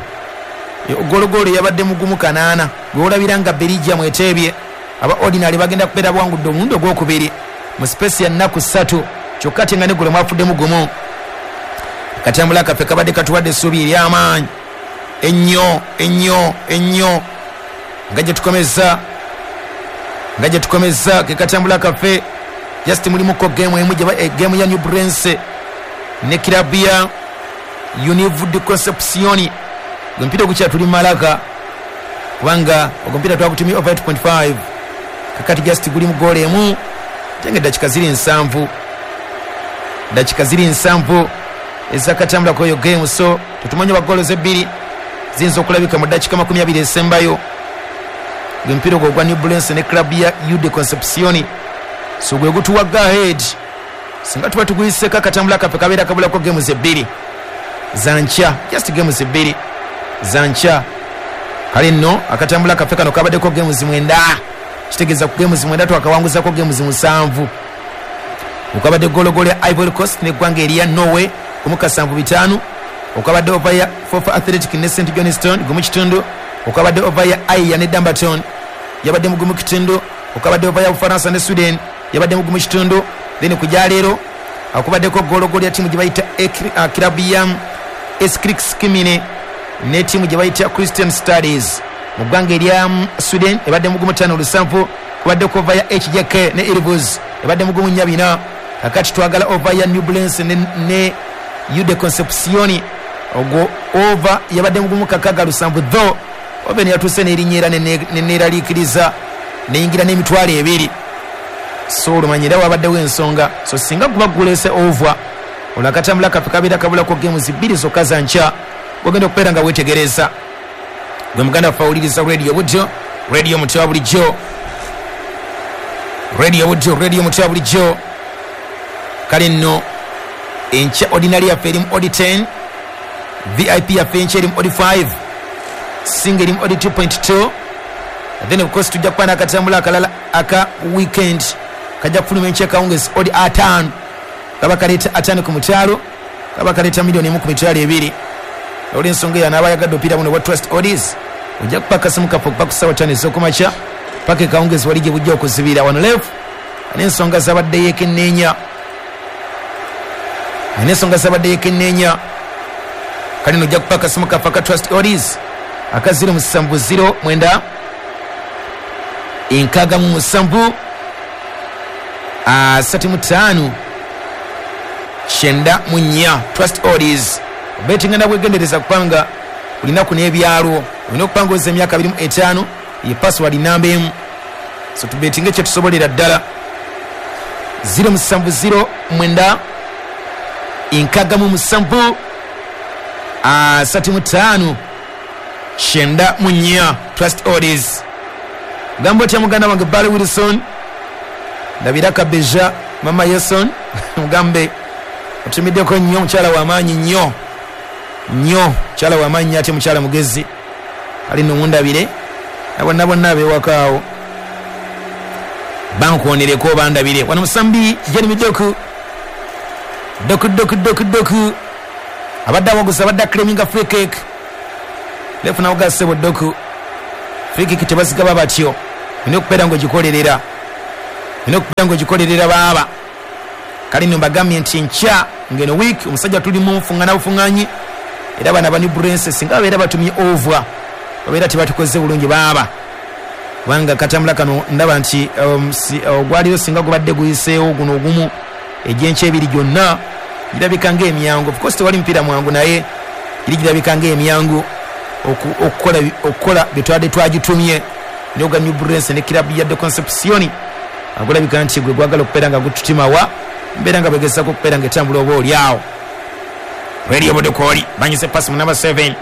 Speaker 3: Gologolo yabadde mugumu kanaana gw'olabira nga Belgium eteebye. Aba ordinary bagenda kubeera bwangudde omulundi ogwokubiri mu space ya nnaku ssatu kyokka ate nga neggulo mwafuddemu gumu. Akatambula kaffe kabadde katuwadde essuubi ery'amaanyi ennyo ennyo ennyo nga gye tukomeza nga gye tukomeza ke katambula kaffe. Just mulimuko game emu gye game ya New Brunswick ne kirabu ya Univ de Concepcion. Omupiira gukyatuli malaka kubanga ogwo twagutumye over eight point five. Kakati just guli mu goal emu tenge dakika ziri nsanvu dakika ziri nsanvu ezakatambula ku eyo game. So tetumanyi wa goal ebbiri ziyinza okulabika mu dakika makumi abiri esembayo. Omupiira ogwo gwa New Brunswick ne club ya U de Concepcion. So gwe gutuwa go ahead singa tuba tuguyiseko akatambula kaffe kabeera kabulako games ebbiri zankya, just games ebbiri zankya. Kale nno akatambula kaffe kano kabaddeko games mwenda, kitegeeza ku games mwenda twakawanguzako games musanvu. Okabadde gologolo ya Ivory Coast n'eggwanga erya Norway gumu kasanvu bitaano. Okabadde over ya Forfar Athletic ne Saint Johnstone gumu kitundu. Okabadde over ya Aya ne Dumbarton yabadde mu gumu kitundu. Okabadde over ya Bufaransa ne Sweden yabadde mu gumu kitundu. Then kujja leero akubaddeko gologolo ya ttiimu gye bayita kirabu ya Eskrix Kimine ne ttiimu gye bayita Christian Studies mu ggwanga erya Sweden ebadde mu gumu ttaano lusanvu. Kubaddeko over ya H J K ne Elvus ebadde mu gumu nnya bina. Kakati twagala over ya New Brunswick ne, ne U de Concepcion ogwo over yabadde mu gumu kakaga lusanvu though oba yatuuse n'erinnya era neneeraliikiriza neyingira n'emitwalo ebiri. So olumanyira wabaddewo ensonga. So singa guba guleese over olwo akatambula kaffe kabeera kabulako games bbiri zokka za nkya gwegenda okubeera nga weetegereza. Gwe muganda waffe awuliriza radio Buddo, radio muti wa bulijjo, radio Buddo, radio muti wa bulijjo. Kale nno enkya ordinary yaffe erimu odi ten, V I P yaffe enkya erimu odi five, singa erimu odi two point two. Then of course tujja kuba n'akatambula akalala aka weekend kajja kufuluma enkya akawungezi odi ataano kaba kaleeta ataano ku mutwalo kaba kaleeta miliyoni emu ku mitwalo ebiri. Olw'ensonga eyo anaaba ayagadde omupiira buno bwa Trust Odds ojja kupa akasimu kaffe okuva ku ssaawa ttaano ez'okumakya paka ekawungezi wali gye bujja okuzibira. Wano left n'ensonga zabadde yeekenneenya n'ensonga zabadde yeekenneenya. Kale nno ojja kupa akasimu kaffe aka Trust Odds aka zero musanvu zero mwenda enkaaga mu musanvu asatu mu ttaano kyenda mu nnya. Trust Odds obetinga nabwegendereza kubanga olinaku n'ebyalo olina okupanga oza emyaka abiri mu etaano ye password namba emu. So tubetinge kye tusobolera ddala. Zero musanvu zero mwenda enkaaga mu musanvu asatu mu ttaano kyenda mu nnya. Trust Odds. Gamba otya muganda wange Barry Wilson, ndabira Kabeja mama Yeson mugambe otumiddeko nnyo mukyala w'amaanyi nnyo nnyo mukyala w'amaanyi ate mukyala mugezi ali nno mundabire na bonna bonna ab'ewakaawo bankonereko bandabire. Wano musambi Jeremy Doku Doku Doku Doku Doku abadde awaguza abadde aclaiminga free kick lefu nawuga ssebo Doku Free kick tebazigaba batyo, olina okubeera ng'ogikolerera, olina okubeera ng'ogikolerera baaba. Kale nno mbagambye nti nkya ngeno week omusajja tuli mu nfungana bufunganyi, era bana ba New Brence singa babeera batumye over babeera tebatukoze bulungi baaba, kubanga katambula kano ndaba nti um, si, ogwaliyo singa gubadde guyiseewo guno ogumu egyenkya ebiri gyonna girabika ng'emyangu. Of course tewali mupiira mwangu, naye giri girabika ng'emyangu okukola okukola bye twabadde twagitumye. N'ogwa New Brence ne kirabu ya De Concepcion agulabika nti gwe gwagala okubeera nga gututimawa mbeera nga begezaako okubeera nga etambula oba oli awo. Radio Bodokoli banyise pasi mu number seven,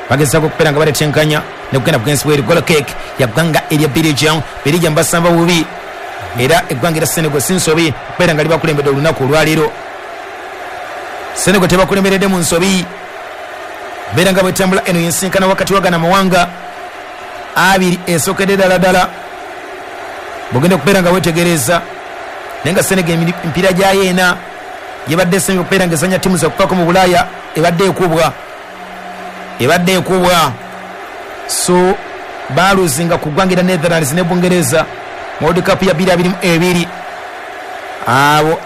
Speaker 3: bagezaako okubeera nga baletenkanya nekugenda bugenzi bweru. Goal kick ya ggwanga erya Belgium. Belgium basamba bubi, era eggwanga erya Senegal si nsobi okubeera nga libakulembedde olunaku olwaleero. Senegal tebakulemberedde mu nsobi, mbeera nga bwetambula eno yensinkana wakati wagana mawanga abiri esookedde ddala ddala bwogenda okubeera nga wetegereza. Naye nga Senegal emipiira gyayo ena gyebadde esembe okubeera nga ezanya ttiimu zakupako mu Bulaaya ebadde ekubwa, ebadde ekubwa. So baluzinga ku ggwanga erya Netherlands ne Bungereza mu World Cup ya bbiri abiri mu ebiri, abo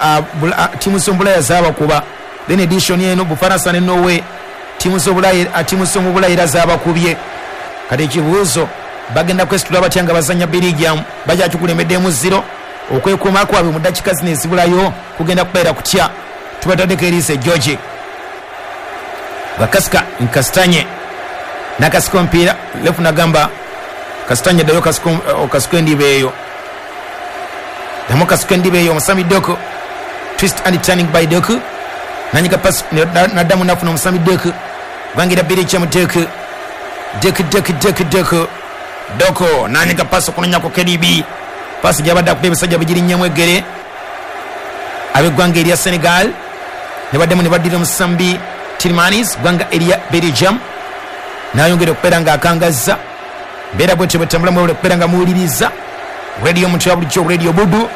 Speaker 3: ttiimu z'omubulaaya zaabakuba. Then edition eno Bufaransa ne Norway ttiimu z'obulaaya ttiimu z'omu Bulaaya era zaabakubye. Kati ekibuuzo bagenda kwesitula batya nga bazanya Belgium bakyakikulembeddemu zero? Okwekuuma kwabwe mu ddakiika zino ezibulayo kugenda kubeera kutya? Tubataddeko eriiso ejjogi. Bakasika Nkasitanye nakasika omupiira lefu nagamba Kasitanye ddayo okasika endiba eyo, ddamu kasika endiba eyo. Omusambi Doku, twist and turning by Doku, nanyiga pasi naddamu nafuna omusambi Doku, gwangira Belgium Doku Doku Doku Doku Doku Doku nanyiga pasi okunonyako K D B, pasi gyabadde akuba ebisajja bigirinnyamu eggere ab'eggwanga erya Senegal ne baddemu ne baddira omusambi Tillmans ggwanga erya Belgium, nayongera okubeera ng'akangazza. Mbeera bwetyo bwetambula mwewole okubeera nga muwuliriza radio omuntu ya bulijjo Radio Budu.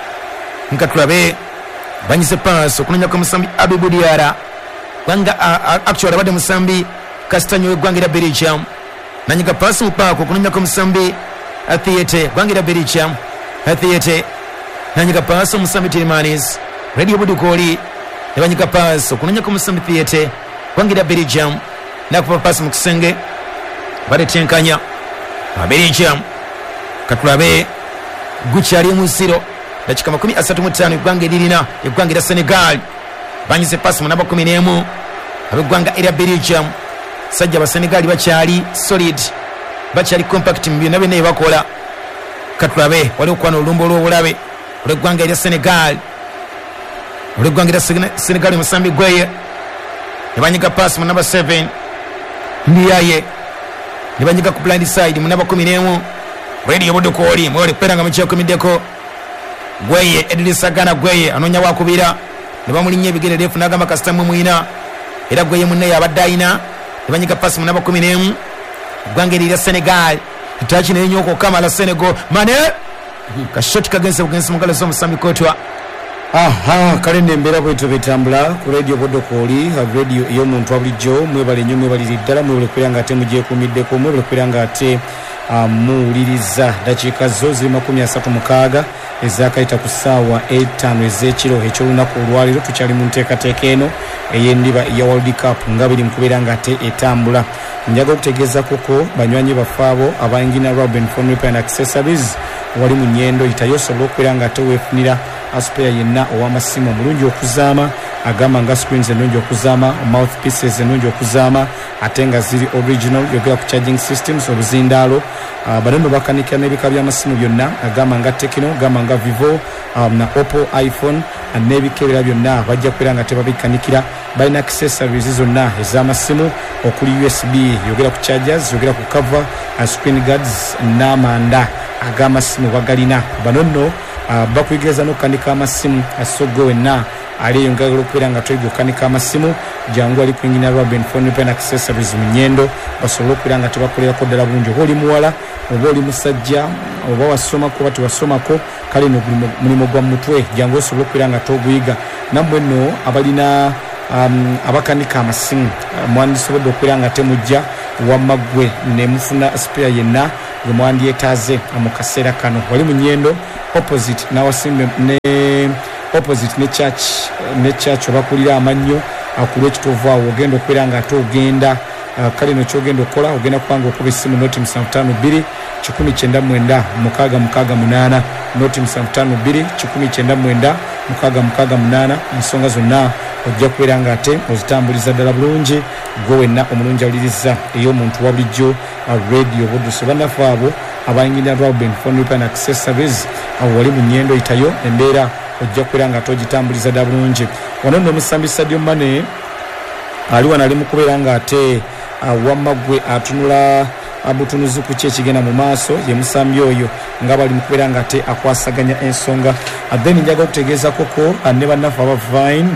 Speaker 3: Nga tulabe banyize paasi okunonyako omusambi Abibu Diara, ggwanga actually abadde musambi Castagne w'eggwanga erya Belgium, nanyiga paasi mu paako okunonyako omusambi Athiete ggwanga erya Belgium. Athiete nanyiga paasi omusambi Tillmans, Radio Budu kooli ne banyiga paasi okunonyako omusambi Thiete ggwanga erya Belgium, nakuba paasi mu kisenge baletenkanya Belgium. Katulabe gukyali mu zero, dakika makumi asatu mu ttaano eggwanga eririna eggwanga erya Senegal banyize paasi mu namba kumi n'emu ab'eggwanga erya Belgium. Sajja Abasenegali bakyali solid, bakyali compact mu byonna byonna bye bakola. Katulabe waliwo okwana olulumba olw'obulabe olw'eggwanga erya Senegal, olw'eggwanga erya Senegal omusambi Gweye ne banyiga paasi mu namba seven Ndiaye, ne banyiga ku blind side mu namba kumi n'emu Radio Bodokoli mwewale kubeera nga mukyekumiddeko. Gweye Edrisa Gana Gweye anoonya wakubira ne bamulinnya ebigere refu n'agamba kasita mwe mwina, era Gweye munne yabadde ayina ne banyiga paasi mu namba kumi n'emu eggwanga erya Senegal. Etaaki nenyooka okamala Senegal Mane kashoti kagenze bugenzi mu ngalo z'omusambi Kotwa.
Speaker 1: Aha, kale nembeera bwetyo betambula ku Radio Bodokoli, radio ey'omuntu wa bulijjo. Mwebale nnyo, mwebalire ddala, mwebale kubeera nga ate mugyekuumiddeko, mwebale kubeera nga ate muwuliriza. Dakiika zo ziri makumi asatu mukaaga ezakayita ku ssaawa etaano ez'ekiro eky'olunaku olwaleero. Tukyali mu nteekateeka eno ey'endiba eya World Cup nga biri mu kubeera nga ate etambula. Njaga okutegeeza kuko banywanyi baffe abo abayingina Robin Phone Repair and Accessories wali mu Nyendo yitayo osobola okubeera nga ate weefunira aspeya yenna ow'amasimu omulungi okuzaama, agamba nga screens ennungi okuzaama, mouthpieces ennungi okuzaama ate nga ziri original. Yogera ku charging systems, obuzindaalo. uh, bano nno bakanikira n'ebika by'amasimu byonna, agamba nga Tecno, agamba nga Vivo, um, na Oppo, iPhone n'ebika ebirala byonna bajja kubeera nga tebabikanikira. Balina accessories zonna ez'amasimu okuli U S B, yogera ku chargers, yogera ku cover, screen guards n'amanda ag'amasimu bagalina. Bano nno uh, bakuyigiriza n'okukanika amasimu, so gwe wenna aliyo ngagala okubeera nga toyiga okukanika amasimu, jangu ali kwingina Robin Phone Repair and Accessories mu Nyendo basobole okubeera nga tebakolerako ddala bulungi. Oba oli muwala oba oli musajja oba wasomako oba tewasomako, kale no mulimu gwa mutwe, jangu osobole okubeera nga toguyiga. Nammwe nno abalina um, abakanika amasimu, mwandisobodde okubeera nga temujja wamma ggwe ne mufuna spare yenna gwe mwandyetaaze mu kaseera kano. Wali mu Nyendo opposite nawasimbe ne opposite ne church ne church obakulira amannyo akulwa ekitovu awo ogenda okubeera nga ate ogenda kale no kyogenda okukola ogenda kubanga okuba essimu noti musanvu ttaano bbiri kikumi kyenda mwenda mukaaga mukaaga munaana noti musanvu ttaano bbiri kikumi kyenda mwenda mukaaga mukaaga munaana. Ensonga zonna ojja kubeera nga ate ozitambuliza ddala bulungi gwe wenna omulungi awuliriza ey'omuntu wa bulijjo Radio Buddu. Bannaffe abo abayingirira Robin Phone Repair and Accessories awo wali mu Nyendo itayo embeera ojja kubeera nga ate ogitambuliza ddala bulungi. Wano nno omusambi Sadio Mane ali wano ali mu kubeera nga ate wamma gwe atunula abutunuzi ku ki ekigenda mu maaso ye musambi oyo nga bali mu kubeera nga ate akwasaganya ensonga. Then njaga okutegeezako ko ne bannaffe aba Vine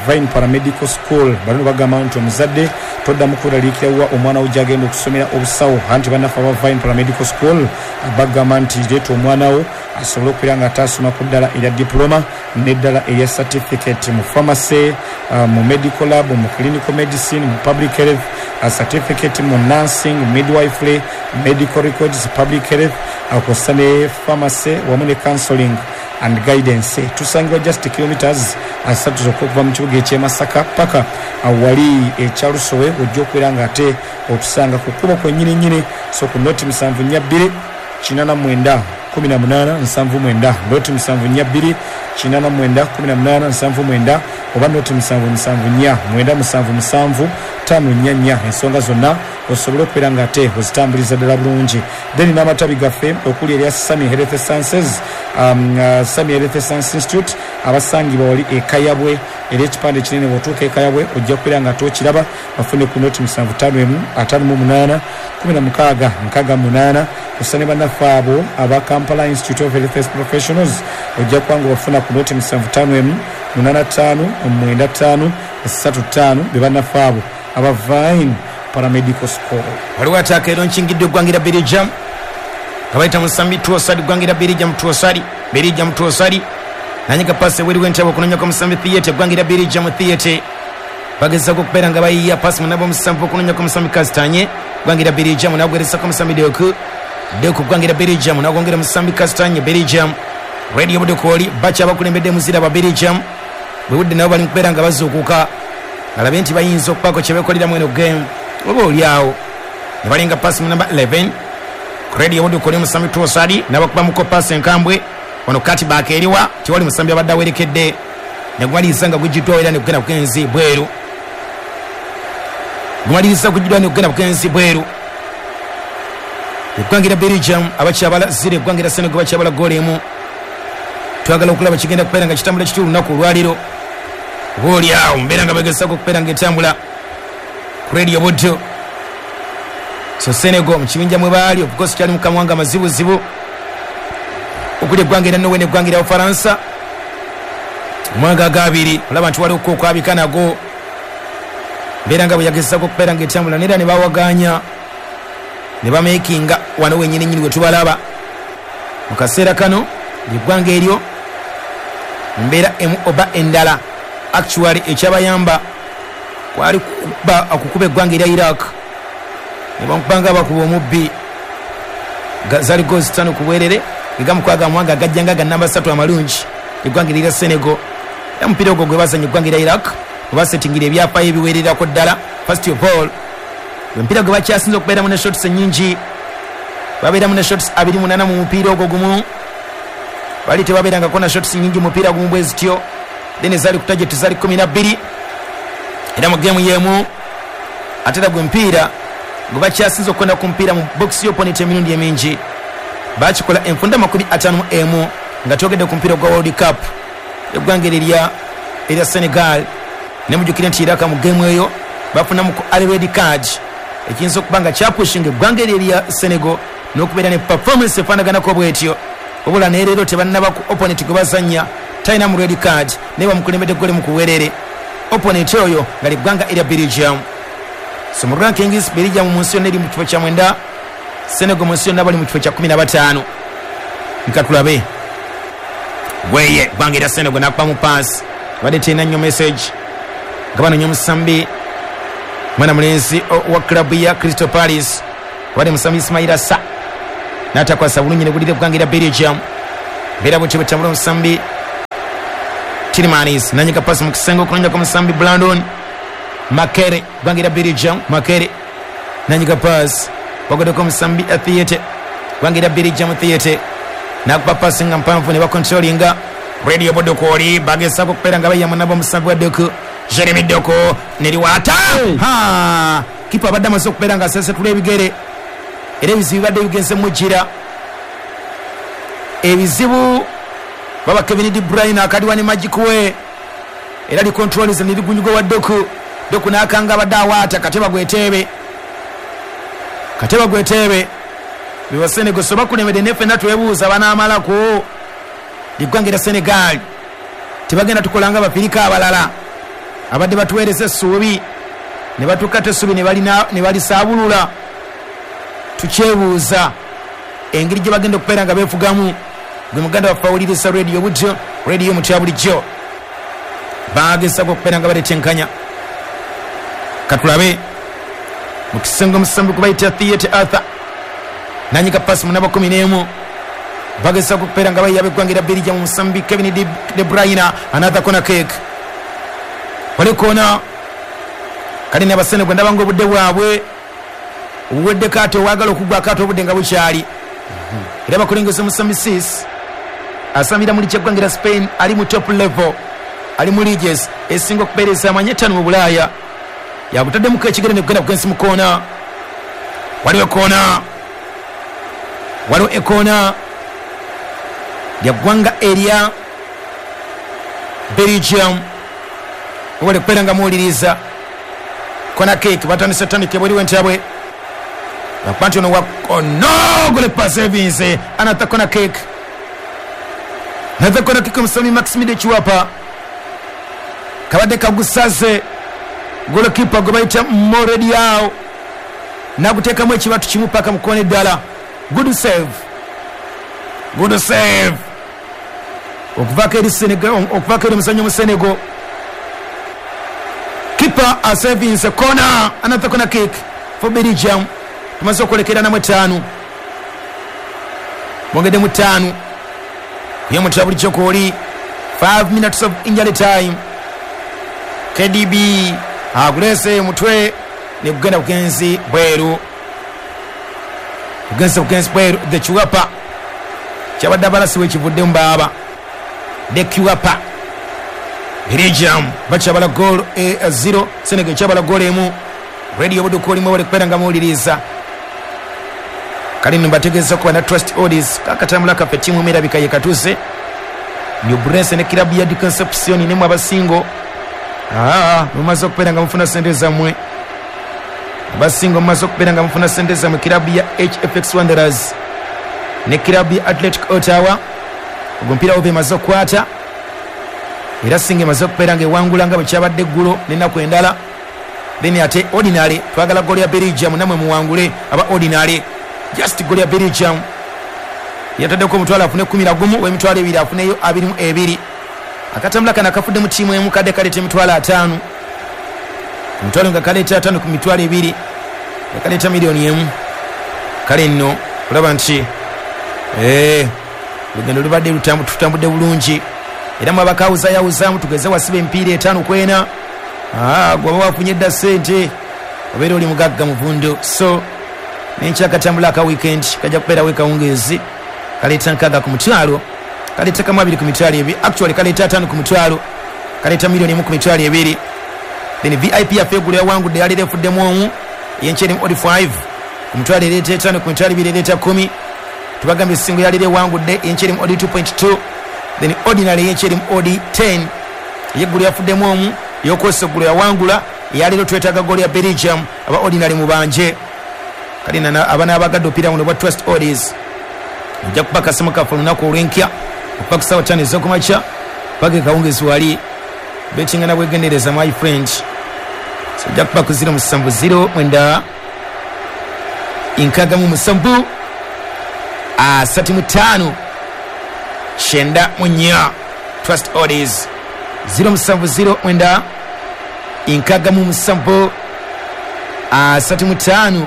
Speaker 1: Vine Paramedical School bano bagamba nti omuzadde toddamu kweraliikirira wa omwana wo gy'agenda okusomera obusawo, anti bannaffe aba Vine Paramedical School bagamba nti leeta omwana wo asobole okubeera nga ate asoma ku ddala erya diploma n'eddala erya certificate mu pharmacy, mu medical lab, mu clinical medicine, mu public health, certificate mu nursing, midwifery, medical records, public health, akosa ne pharmacy wamu ne counseling and guidance. Tusangibwa just kilometers asatu zokka okuva mu kibuga eky'e Masaka paka awali ekyalusowe ojja okubeera nga ate otusanga ku kkubo kwennyini nnyini. So ku noti musanvu nnya bbiri kinaana mwenda kumi na munaana nsanvu mwenda noti musanvu nnya bbiri kinaana mwenda kumi na munaana nsanvu mwenda oba noti musanvu musanvu nnya mwenda musanvu musanvu ttaano nnya nnya. Ensonga zonna osobola okubeera nga ate ozitambuliza ddala bulungi. Then n'amatabi gaffe okuli erya Sami Health Sciences, um, uh, Sami Health Science Institute abasangibwa wali e Kayabwe, era ekipande kinene bw'otuuka e Kayabwe ojja kubeera nga ate okiraba. Bafune ku noti musanvu ttaano emu ataano mu munaana kumi na mukaaga nkaaga munaana. Osa ne bannaffe abo aba Kampala Institute of Health Professionals ojja kuba nga bafuna ku noti musanvu ttaano emu munaana ttaano mwenda ttaano ssatu ttaano be bannaffe abo aba Vine Paramedical School.
Speaker 3: Waliwo ataaka ero nkingiddwa eggwanga erya Belgium nga bayita musambi Trossard, eggwanga erya Belgium Trossard, Belgium Trossard nanyiga paasi ebweru w'entebe okunonyako musambi Theatre, eggwanga erya Belgium Theatre bagezaako okubeera nga bayiya paasi munabo omusanvu okunonyako musambi Kastanye, eggwanga erya Belgium nagweresako musambi Deku Deku, eggwanga erya Belgium nagwongera musambi Kastanye, Belgium Radio Buddu kwoli bacha abakulembedde muzira ba Belgium bwe budde nabo bali mu kubeera nga bazuukuka alabe nti bayinza okubaako kye beekoleramu eno game oba oli awo ne balinga paasi mu namba eleven Radio Buddu kwoli musambi Trossard n'abakubamuko paasi enkambwe wano kati baaka eriwa tewali musambi abadde awerekedde ne gumaliriza nga gugiddwawo era ne gugenda bugenzi bweru gumaliriza gugiddwawo ne gugenda bugenzi bweru. Eggwanga erya Belgium abakyabala zero, eggwanga erya Senegal bakyabala goolo emu. Twagala okulaba kigenda kubeera nga kitambula kiti olunaku olwaleero oba oli awo mbeera nga bagezaako okubeera nga etambula ku Radio Buddu. So Senegal mu kibinja mwe baali of course kyali mu kamwanga amazibuzibu okuli eggwanga erya Norway n'eggwanga erya Bufalansa omwanga agabiri olaba nti waliwo okwabika nago mbeera nga bwe yagezaako okubeera nga etambula neera ne bawaganya ne bamakinga wano wennyini nnyini we tubalaba mu kaseera kano eggwanga eryo mbeera emu oba endala. Actually ekyabayamba kwali okukuba eggwanga erya Iraq ne bamukubanga bakuba omubbi zaali goals ttaano ku bwerere egamukwaga mwanga agajjanga ga namba ssatu amalungi eggwanga erya Senegal. Era omupiira ogwo gwe bazannya eggwanga erya Iraq webasetingira ebyafaayo ebiwererako ddala. First of all omupiira gwe bakyasinze okubeeramu ne shots ennyingi, babeeramu ne shots abiri munaana mu mupiira ogwo gumu, bali tebabeerangako na shots nnyingi mupiira gumu bwe zityo. Then ezaali ku target zaali kumi na bbiri era mu geemu y'emu. Ate era gwe mupiira gwe bakyasinze okukwenda ku mupiira mu box y'opponent emirundi emingi bakikola enfunda makumi ataano mu emu nga twogedde ku mupiira gwa World Cup eggwanga erya erya Senegal. Ne mujjukire nti Iraq mu geemu eyo bafunamu ku red card ekiyinza okuba nga kyapushinga eggwanga erya Senegal n'okubeera ne performance efaanaganako bwetyo. Wabula naye leero tebannaba ku opponent gwe bazannya talina mu red card naye bamukulembedde ggoolo mu kuwerere opponent oyo nga liggwanga erya Belgium. So mu rankings Belgium mu nsi yonna eri mu kifo kya mwenda, Senegal mu nsi yonna bali mu kifo kya kumi na bataano. Nkatulabe gweye ggwanga erya Senegal n'akubamu paasi badde terina nnyo message nga banoonya omusambi mwana mulenzi wa club ya Crystal Palace wadde musambi Ismaila Sarr N'atakwasa bulungi ne gulira eggwanga erya Belgium. Mbeera bwetyo bwetambula omusambi Tielemans nanyiga pasi mu kisenge okulonjako omusambi Brandon Makere eggwanga erya Belgium. Makere nanyiga pasi bagoddeko omusambi Theate eggwanga erya Belgium. Theate nakuba pasi nga mpanvu ne bakontrolinga Radio Bodokoli bagezaako okubeera nga bayama nabo omusambi wa Doku Jeremy Doku neriwata ha kipa abadde amaze okubeera nga asesetula ebigere era ebizibu bibadde bigenze mujira ebizibu baba Kevin De Bruyne akaliwa ne Magic we era li controls ne ligunyugo wa Doku Doku n'akanga abadde awaata Kateba gwetebe Kateba gwetebe biwa Senegal so bakulemedde ne ffenna twebuuza banaamalako liggwanga erya Senegal tebagenda tukolanga Abafirika abalala abadde batuweereza essuubi ne batuukata essuubi ne balisaabulula. Tukyebuuza engeri gye bagenda okubeera nga beefugamu. Gwe muganda waffe awuliriza Radio Bujjo, Radio Mutya bulijjo bagezaako okubeera nga baleeta enkanya. Katulabe mu kisenge omusambi gwe bayita Theate Arthur nanyiga pasi munaba kumi n'emu bagezaako okubeera nga bayiyaba eggwanga erya Belgium omusambi Kevin De Bruyne another corner kick wali kona kale n'Abasenegal ndaba ng'obudde bwabwe obuweddeko ate owaagala okuggwako ate obudde nga bukyali. Era bakulengeza omusambi Sis asambira mu liigi y'eggwanga erya Spain ali mu top level ali mu leagues esinga okubeereza amanyi etaano mu Bulaaya yakutaddemuko ekigere ne kugenda kugensi mu koona. Waliwo ekoona waliwo ekoona lya ggwanga erya Belgium wali kubeera nga muwuliriza kona kick batandise tandike bweriwo entabwe bakuba nti ono wa ono gole pass evinze another corner kick another corner kick omusambi Maxime Chiwapa kabadde kagusaze golokipa gwe bayita Morediao naguteekamu ekibatu kimu paka mu koona eddala. Good save good save okuvaako eri Senegal okuvaako eri omuzannyo mu Senegal. Keeper asevinze corner another corner kick for Belgium. Tumaze okwolekera namu etaano mwongedde mu ttaano ye mutya bulijjo kwoli five minutes of injury time. K D B agulese mutwe ne kugenda bugenzi bweru bugenzi bugenzi bweru. The Chiwapa kyabadde abalasi wekivudde mu baaba The Chiwapa Belgium bakyabala goal e zero Senegal kyabala goal emu. Radio Budukoli mwebale kubeera nga muwuliriza. Kale nno mbategeeza kuba na Trust Odis kakatambula kaffe ttiimu emerabika ye katuuse New Brence ne kirabu ya Deconception ne mu abasingo aa mumaze okubeera nga mufuna sente zammwe abasingo mumaze okubeera nga mufuna sente zammwe kirabu ya H F X Wanderers ne kirabu ya Athletic Ottawa. Ogwo omupiira oba emaze okukwata era singa emaze okubeera nga ewangula nga bwe kyabadde eggulo n'ennaku endala. Then ate ordinary twagala goal ya Belgium namwe muwangule aba ordinary just goal ya Belgium yataddeko omutwalo afune kumi na gumu w'emitwalo ebiri afuneyo abiri mu ebiri. Akatambula kano akafudde mu ttiimu emu kadde kaleeta emitwalo ataano omutwalo nga kaleeta ataano ku mitwalo ebiri nga kaleeta miliyoni emu. Kale nno olaba nti ee olugendo lubadde tutambudde bulungi era mwe abakawuzayawuzaamu tugeze wasiba emipiira etaano ku ena gwaba wafunye dda ssente obeera oli mugagga muvundo. So n'enkyakatambula aka weekend kajja kubeerawo ekawungeezi kaleeta nkaaga ku mutwalo kaleeta kamu abiri ku mitwalo ebiri actually kaleeta ataano ku mutwalo kaleeta miliyoni emu ku mitwalo ebiri. Then V I P yaffe eggulo yawangudde yaleero efuddemu omu eyenkya erimu odi five ku mutwalo ereeta etaano ku mitwalo ebiri ereeta kumi. Tubagambye essingo yaleero ewangudde eyenkya erimu odi two point two then ordinary eyenkya erimu odi ten eyeggulo yafuddemu omu yokwesa eggulo yawangula eyaleero twetaaga goal ya Belgium aba ordinary mubanje. Kale abaana abagadde opiira buno bwa Trust Odis ojja kuba akasimu kaffe olunaku olw'enkya okuva ku ssaawa ttaano ez'okumakya paka ekawungezi wali betinga na bwegendereza my friend. So ojja kuba ku zero musanvu zero mwenda nkaaga mu musanvu asatu mu ttaano kyenda mu nnya Trust Odis zero musanvu zero mwenda nkaaga mu musanvu asatu mu ttaano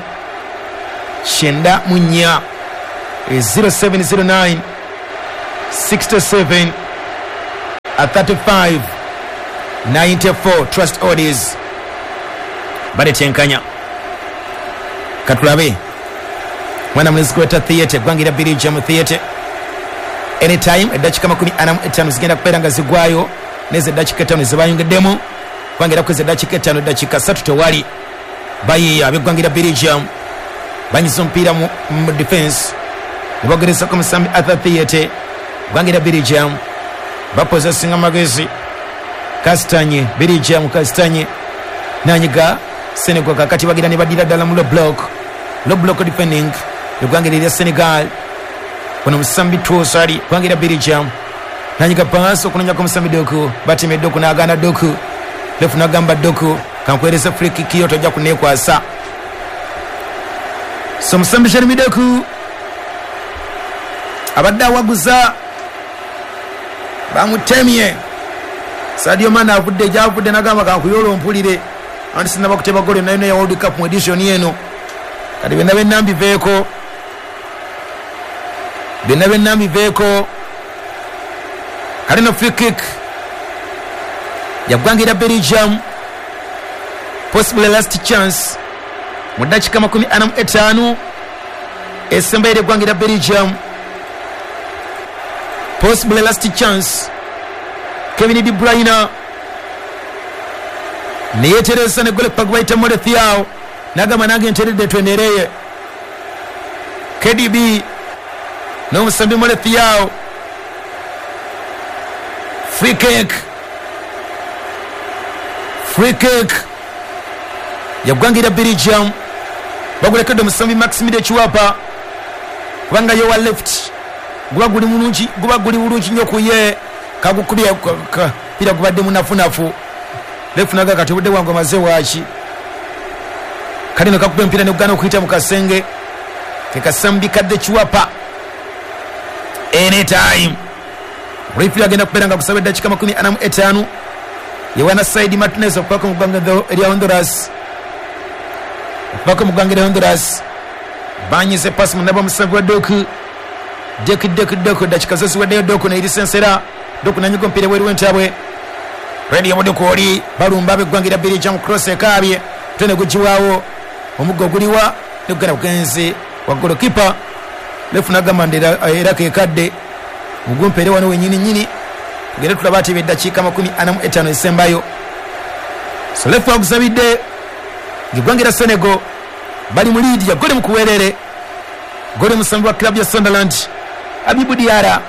Speaker 3: kyenda mu nnya. zero seven zero nine sixty-seven thirty-five ninety-four. Trust Odis baletenkanya. Katulabe mwana mulenzi gweta theatre gwangira Belgium theatre anytime eddakiika makumi ana mu etaano zigenda kubeera nga zigwayo neze eddakiika etaano zebayongeddemu kwangira kwezi eddakiika etaano eddakiika ssatu tewali bayiiya ab'eggwangira Belgium banyiza omupiira mu, mu defense ne bagerezako musambi Arthur Theatre gwangira Belgium bapozesinga magezi Kastanye Belgium Kastanye nanyiga Senegal kakati bagira ne badira ddala mu low block low block defending eggwanga lya Senegal ono musambi Tosari gwangira Belgium nanyiga pass okunonyako musambi Doku batime Doku n'agaana Doku lefu n'agamba Doku kankwereza free kick yo tojja kuneekwasa. So musambi Jeremy Doku abadde awaguza bamutemye. Sadio Mane avudde gyavudde n'agamba kankuyola ompulire anti sinaba kuteba goli nayo ya World Cup mu edition eno kati byonna byonna mbiveeko byonna byonna mbiveeko. Kale no free kick yagwangira Belgium possibly last chance mu ddakiika makumi ana mu etaano esembayo eggwangira Belgium possibly last chance. Kevin De Bruyne neyetereza ne gole gwe bayita Thiaw nagamba nange nteredde twenereye. K D B n'omusambi Mole Thiaw free kick free kick yagwangira Belgium bagulekedde omusambi Maximilian Chiwapa kubanga ye wa left guba guli mulungi guba guli bulungi nnyo ku ye kagukubye pira gubadde munafunafu lefu naga kati obudde bwange omaze waaki kale nekakuba empira nekugana okuyita mu kasenge kekasambi kadde Chiwapa anytime. Referee agenda kubeera nga kusaba eddakiika makumi ana mu etaano yewana Saidi Martinez okupaka mu ggwanga erya Honduras okupaka mu ggwanga erya Honduras banyize pasi munaba omusambi wa Doku Doku Doku Doku eddakiika zo ziweddeyo Doku neirisensera Doku nanyiga omupiira ebweru w'entabwe Radio Budu oli balumba ab'eggwanga erya Belgium cross ekaabye tene gugiwaawo omuggo guliwa negugenda bugenzi wa goalkeeper lefu nagamba era kekadde mugumpeere wano wenyini nyini tugende tulaba ati eddakiika makumi ana mu etaano esembayo. So lefu agusabidde eggwanga erya Senegal bali mu lead ya goli mu kuwerere goli musambi wa club ya Sunderland Abibu Diarra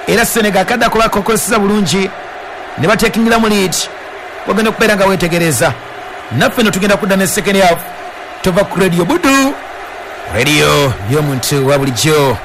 Speaker 3: era Senegal akadde kuba kokozesa bulungi ne batekingira mu lead wagenda okubeera nga weetegereza naffe no tugenda kudda ne second half tova ku Radio Budu radio y'omuntu wa bulijjo.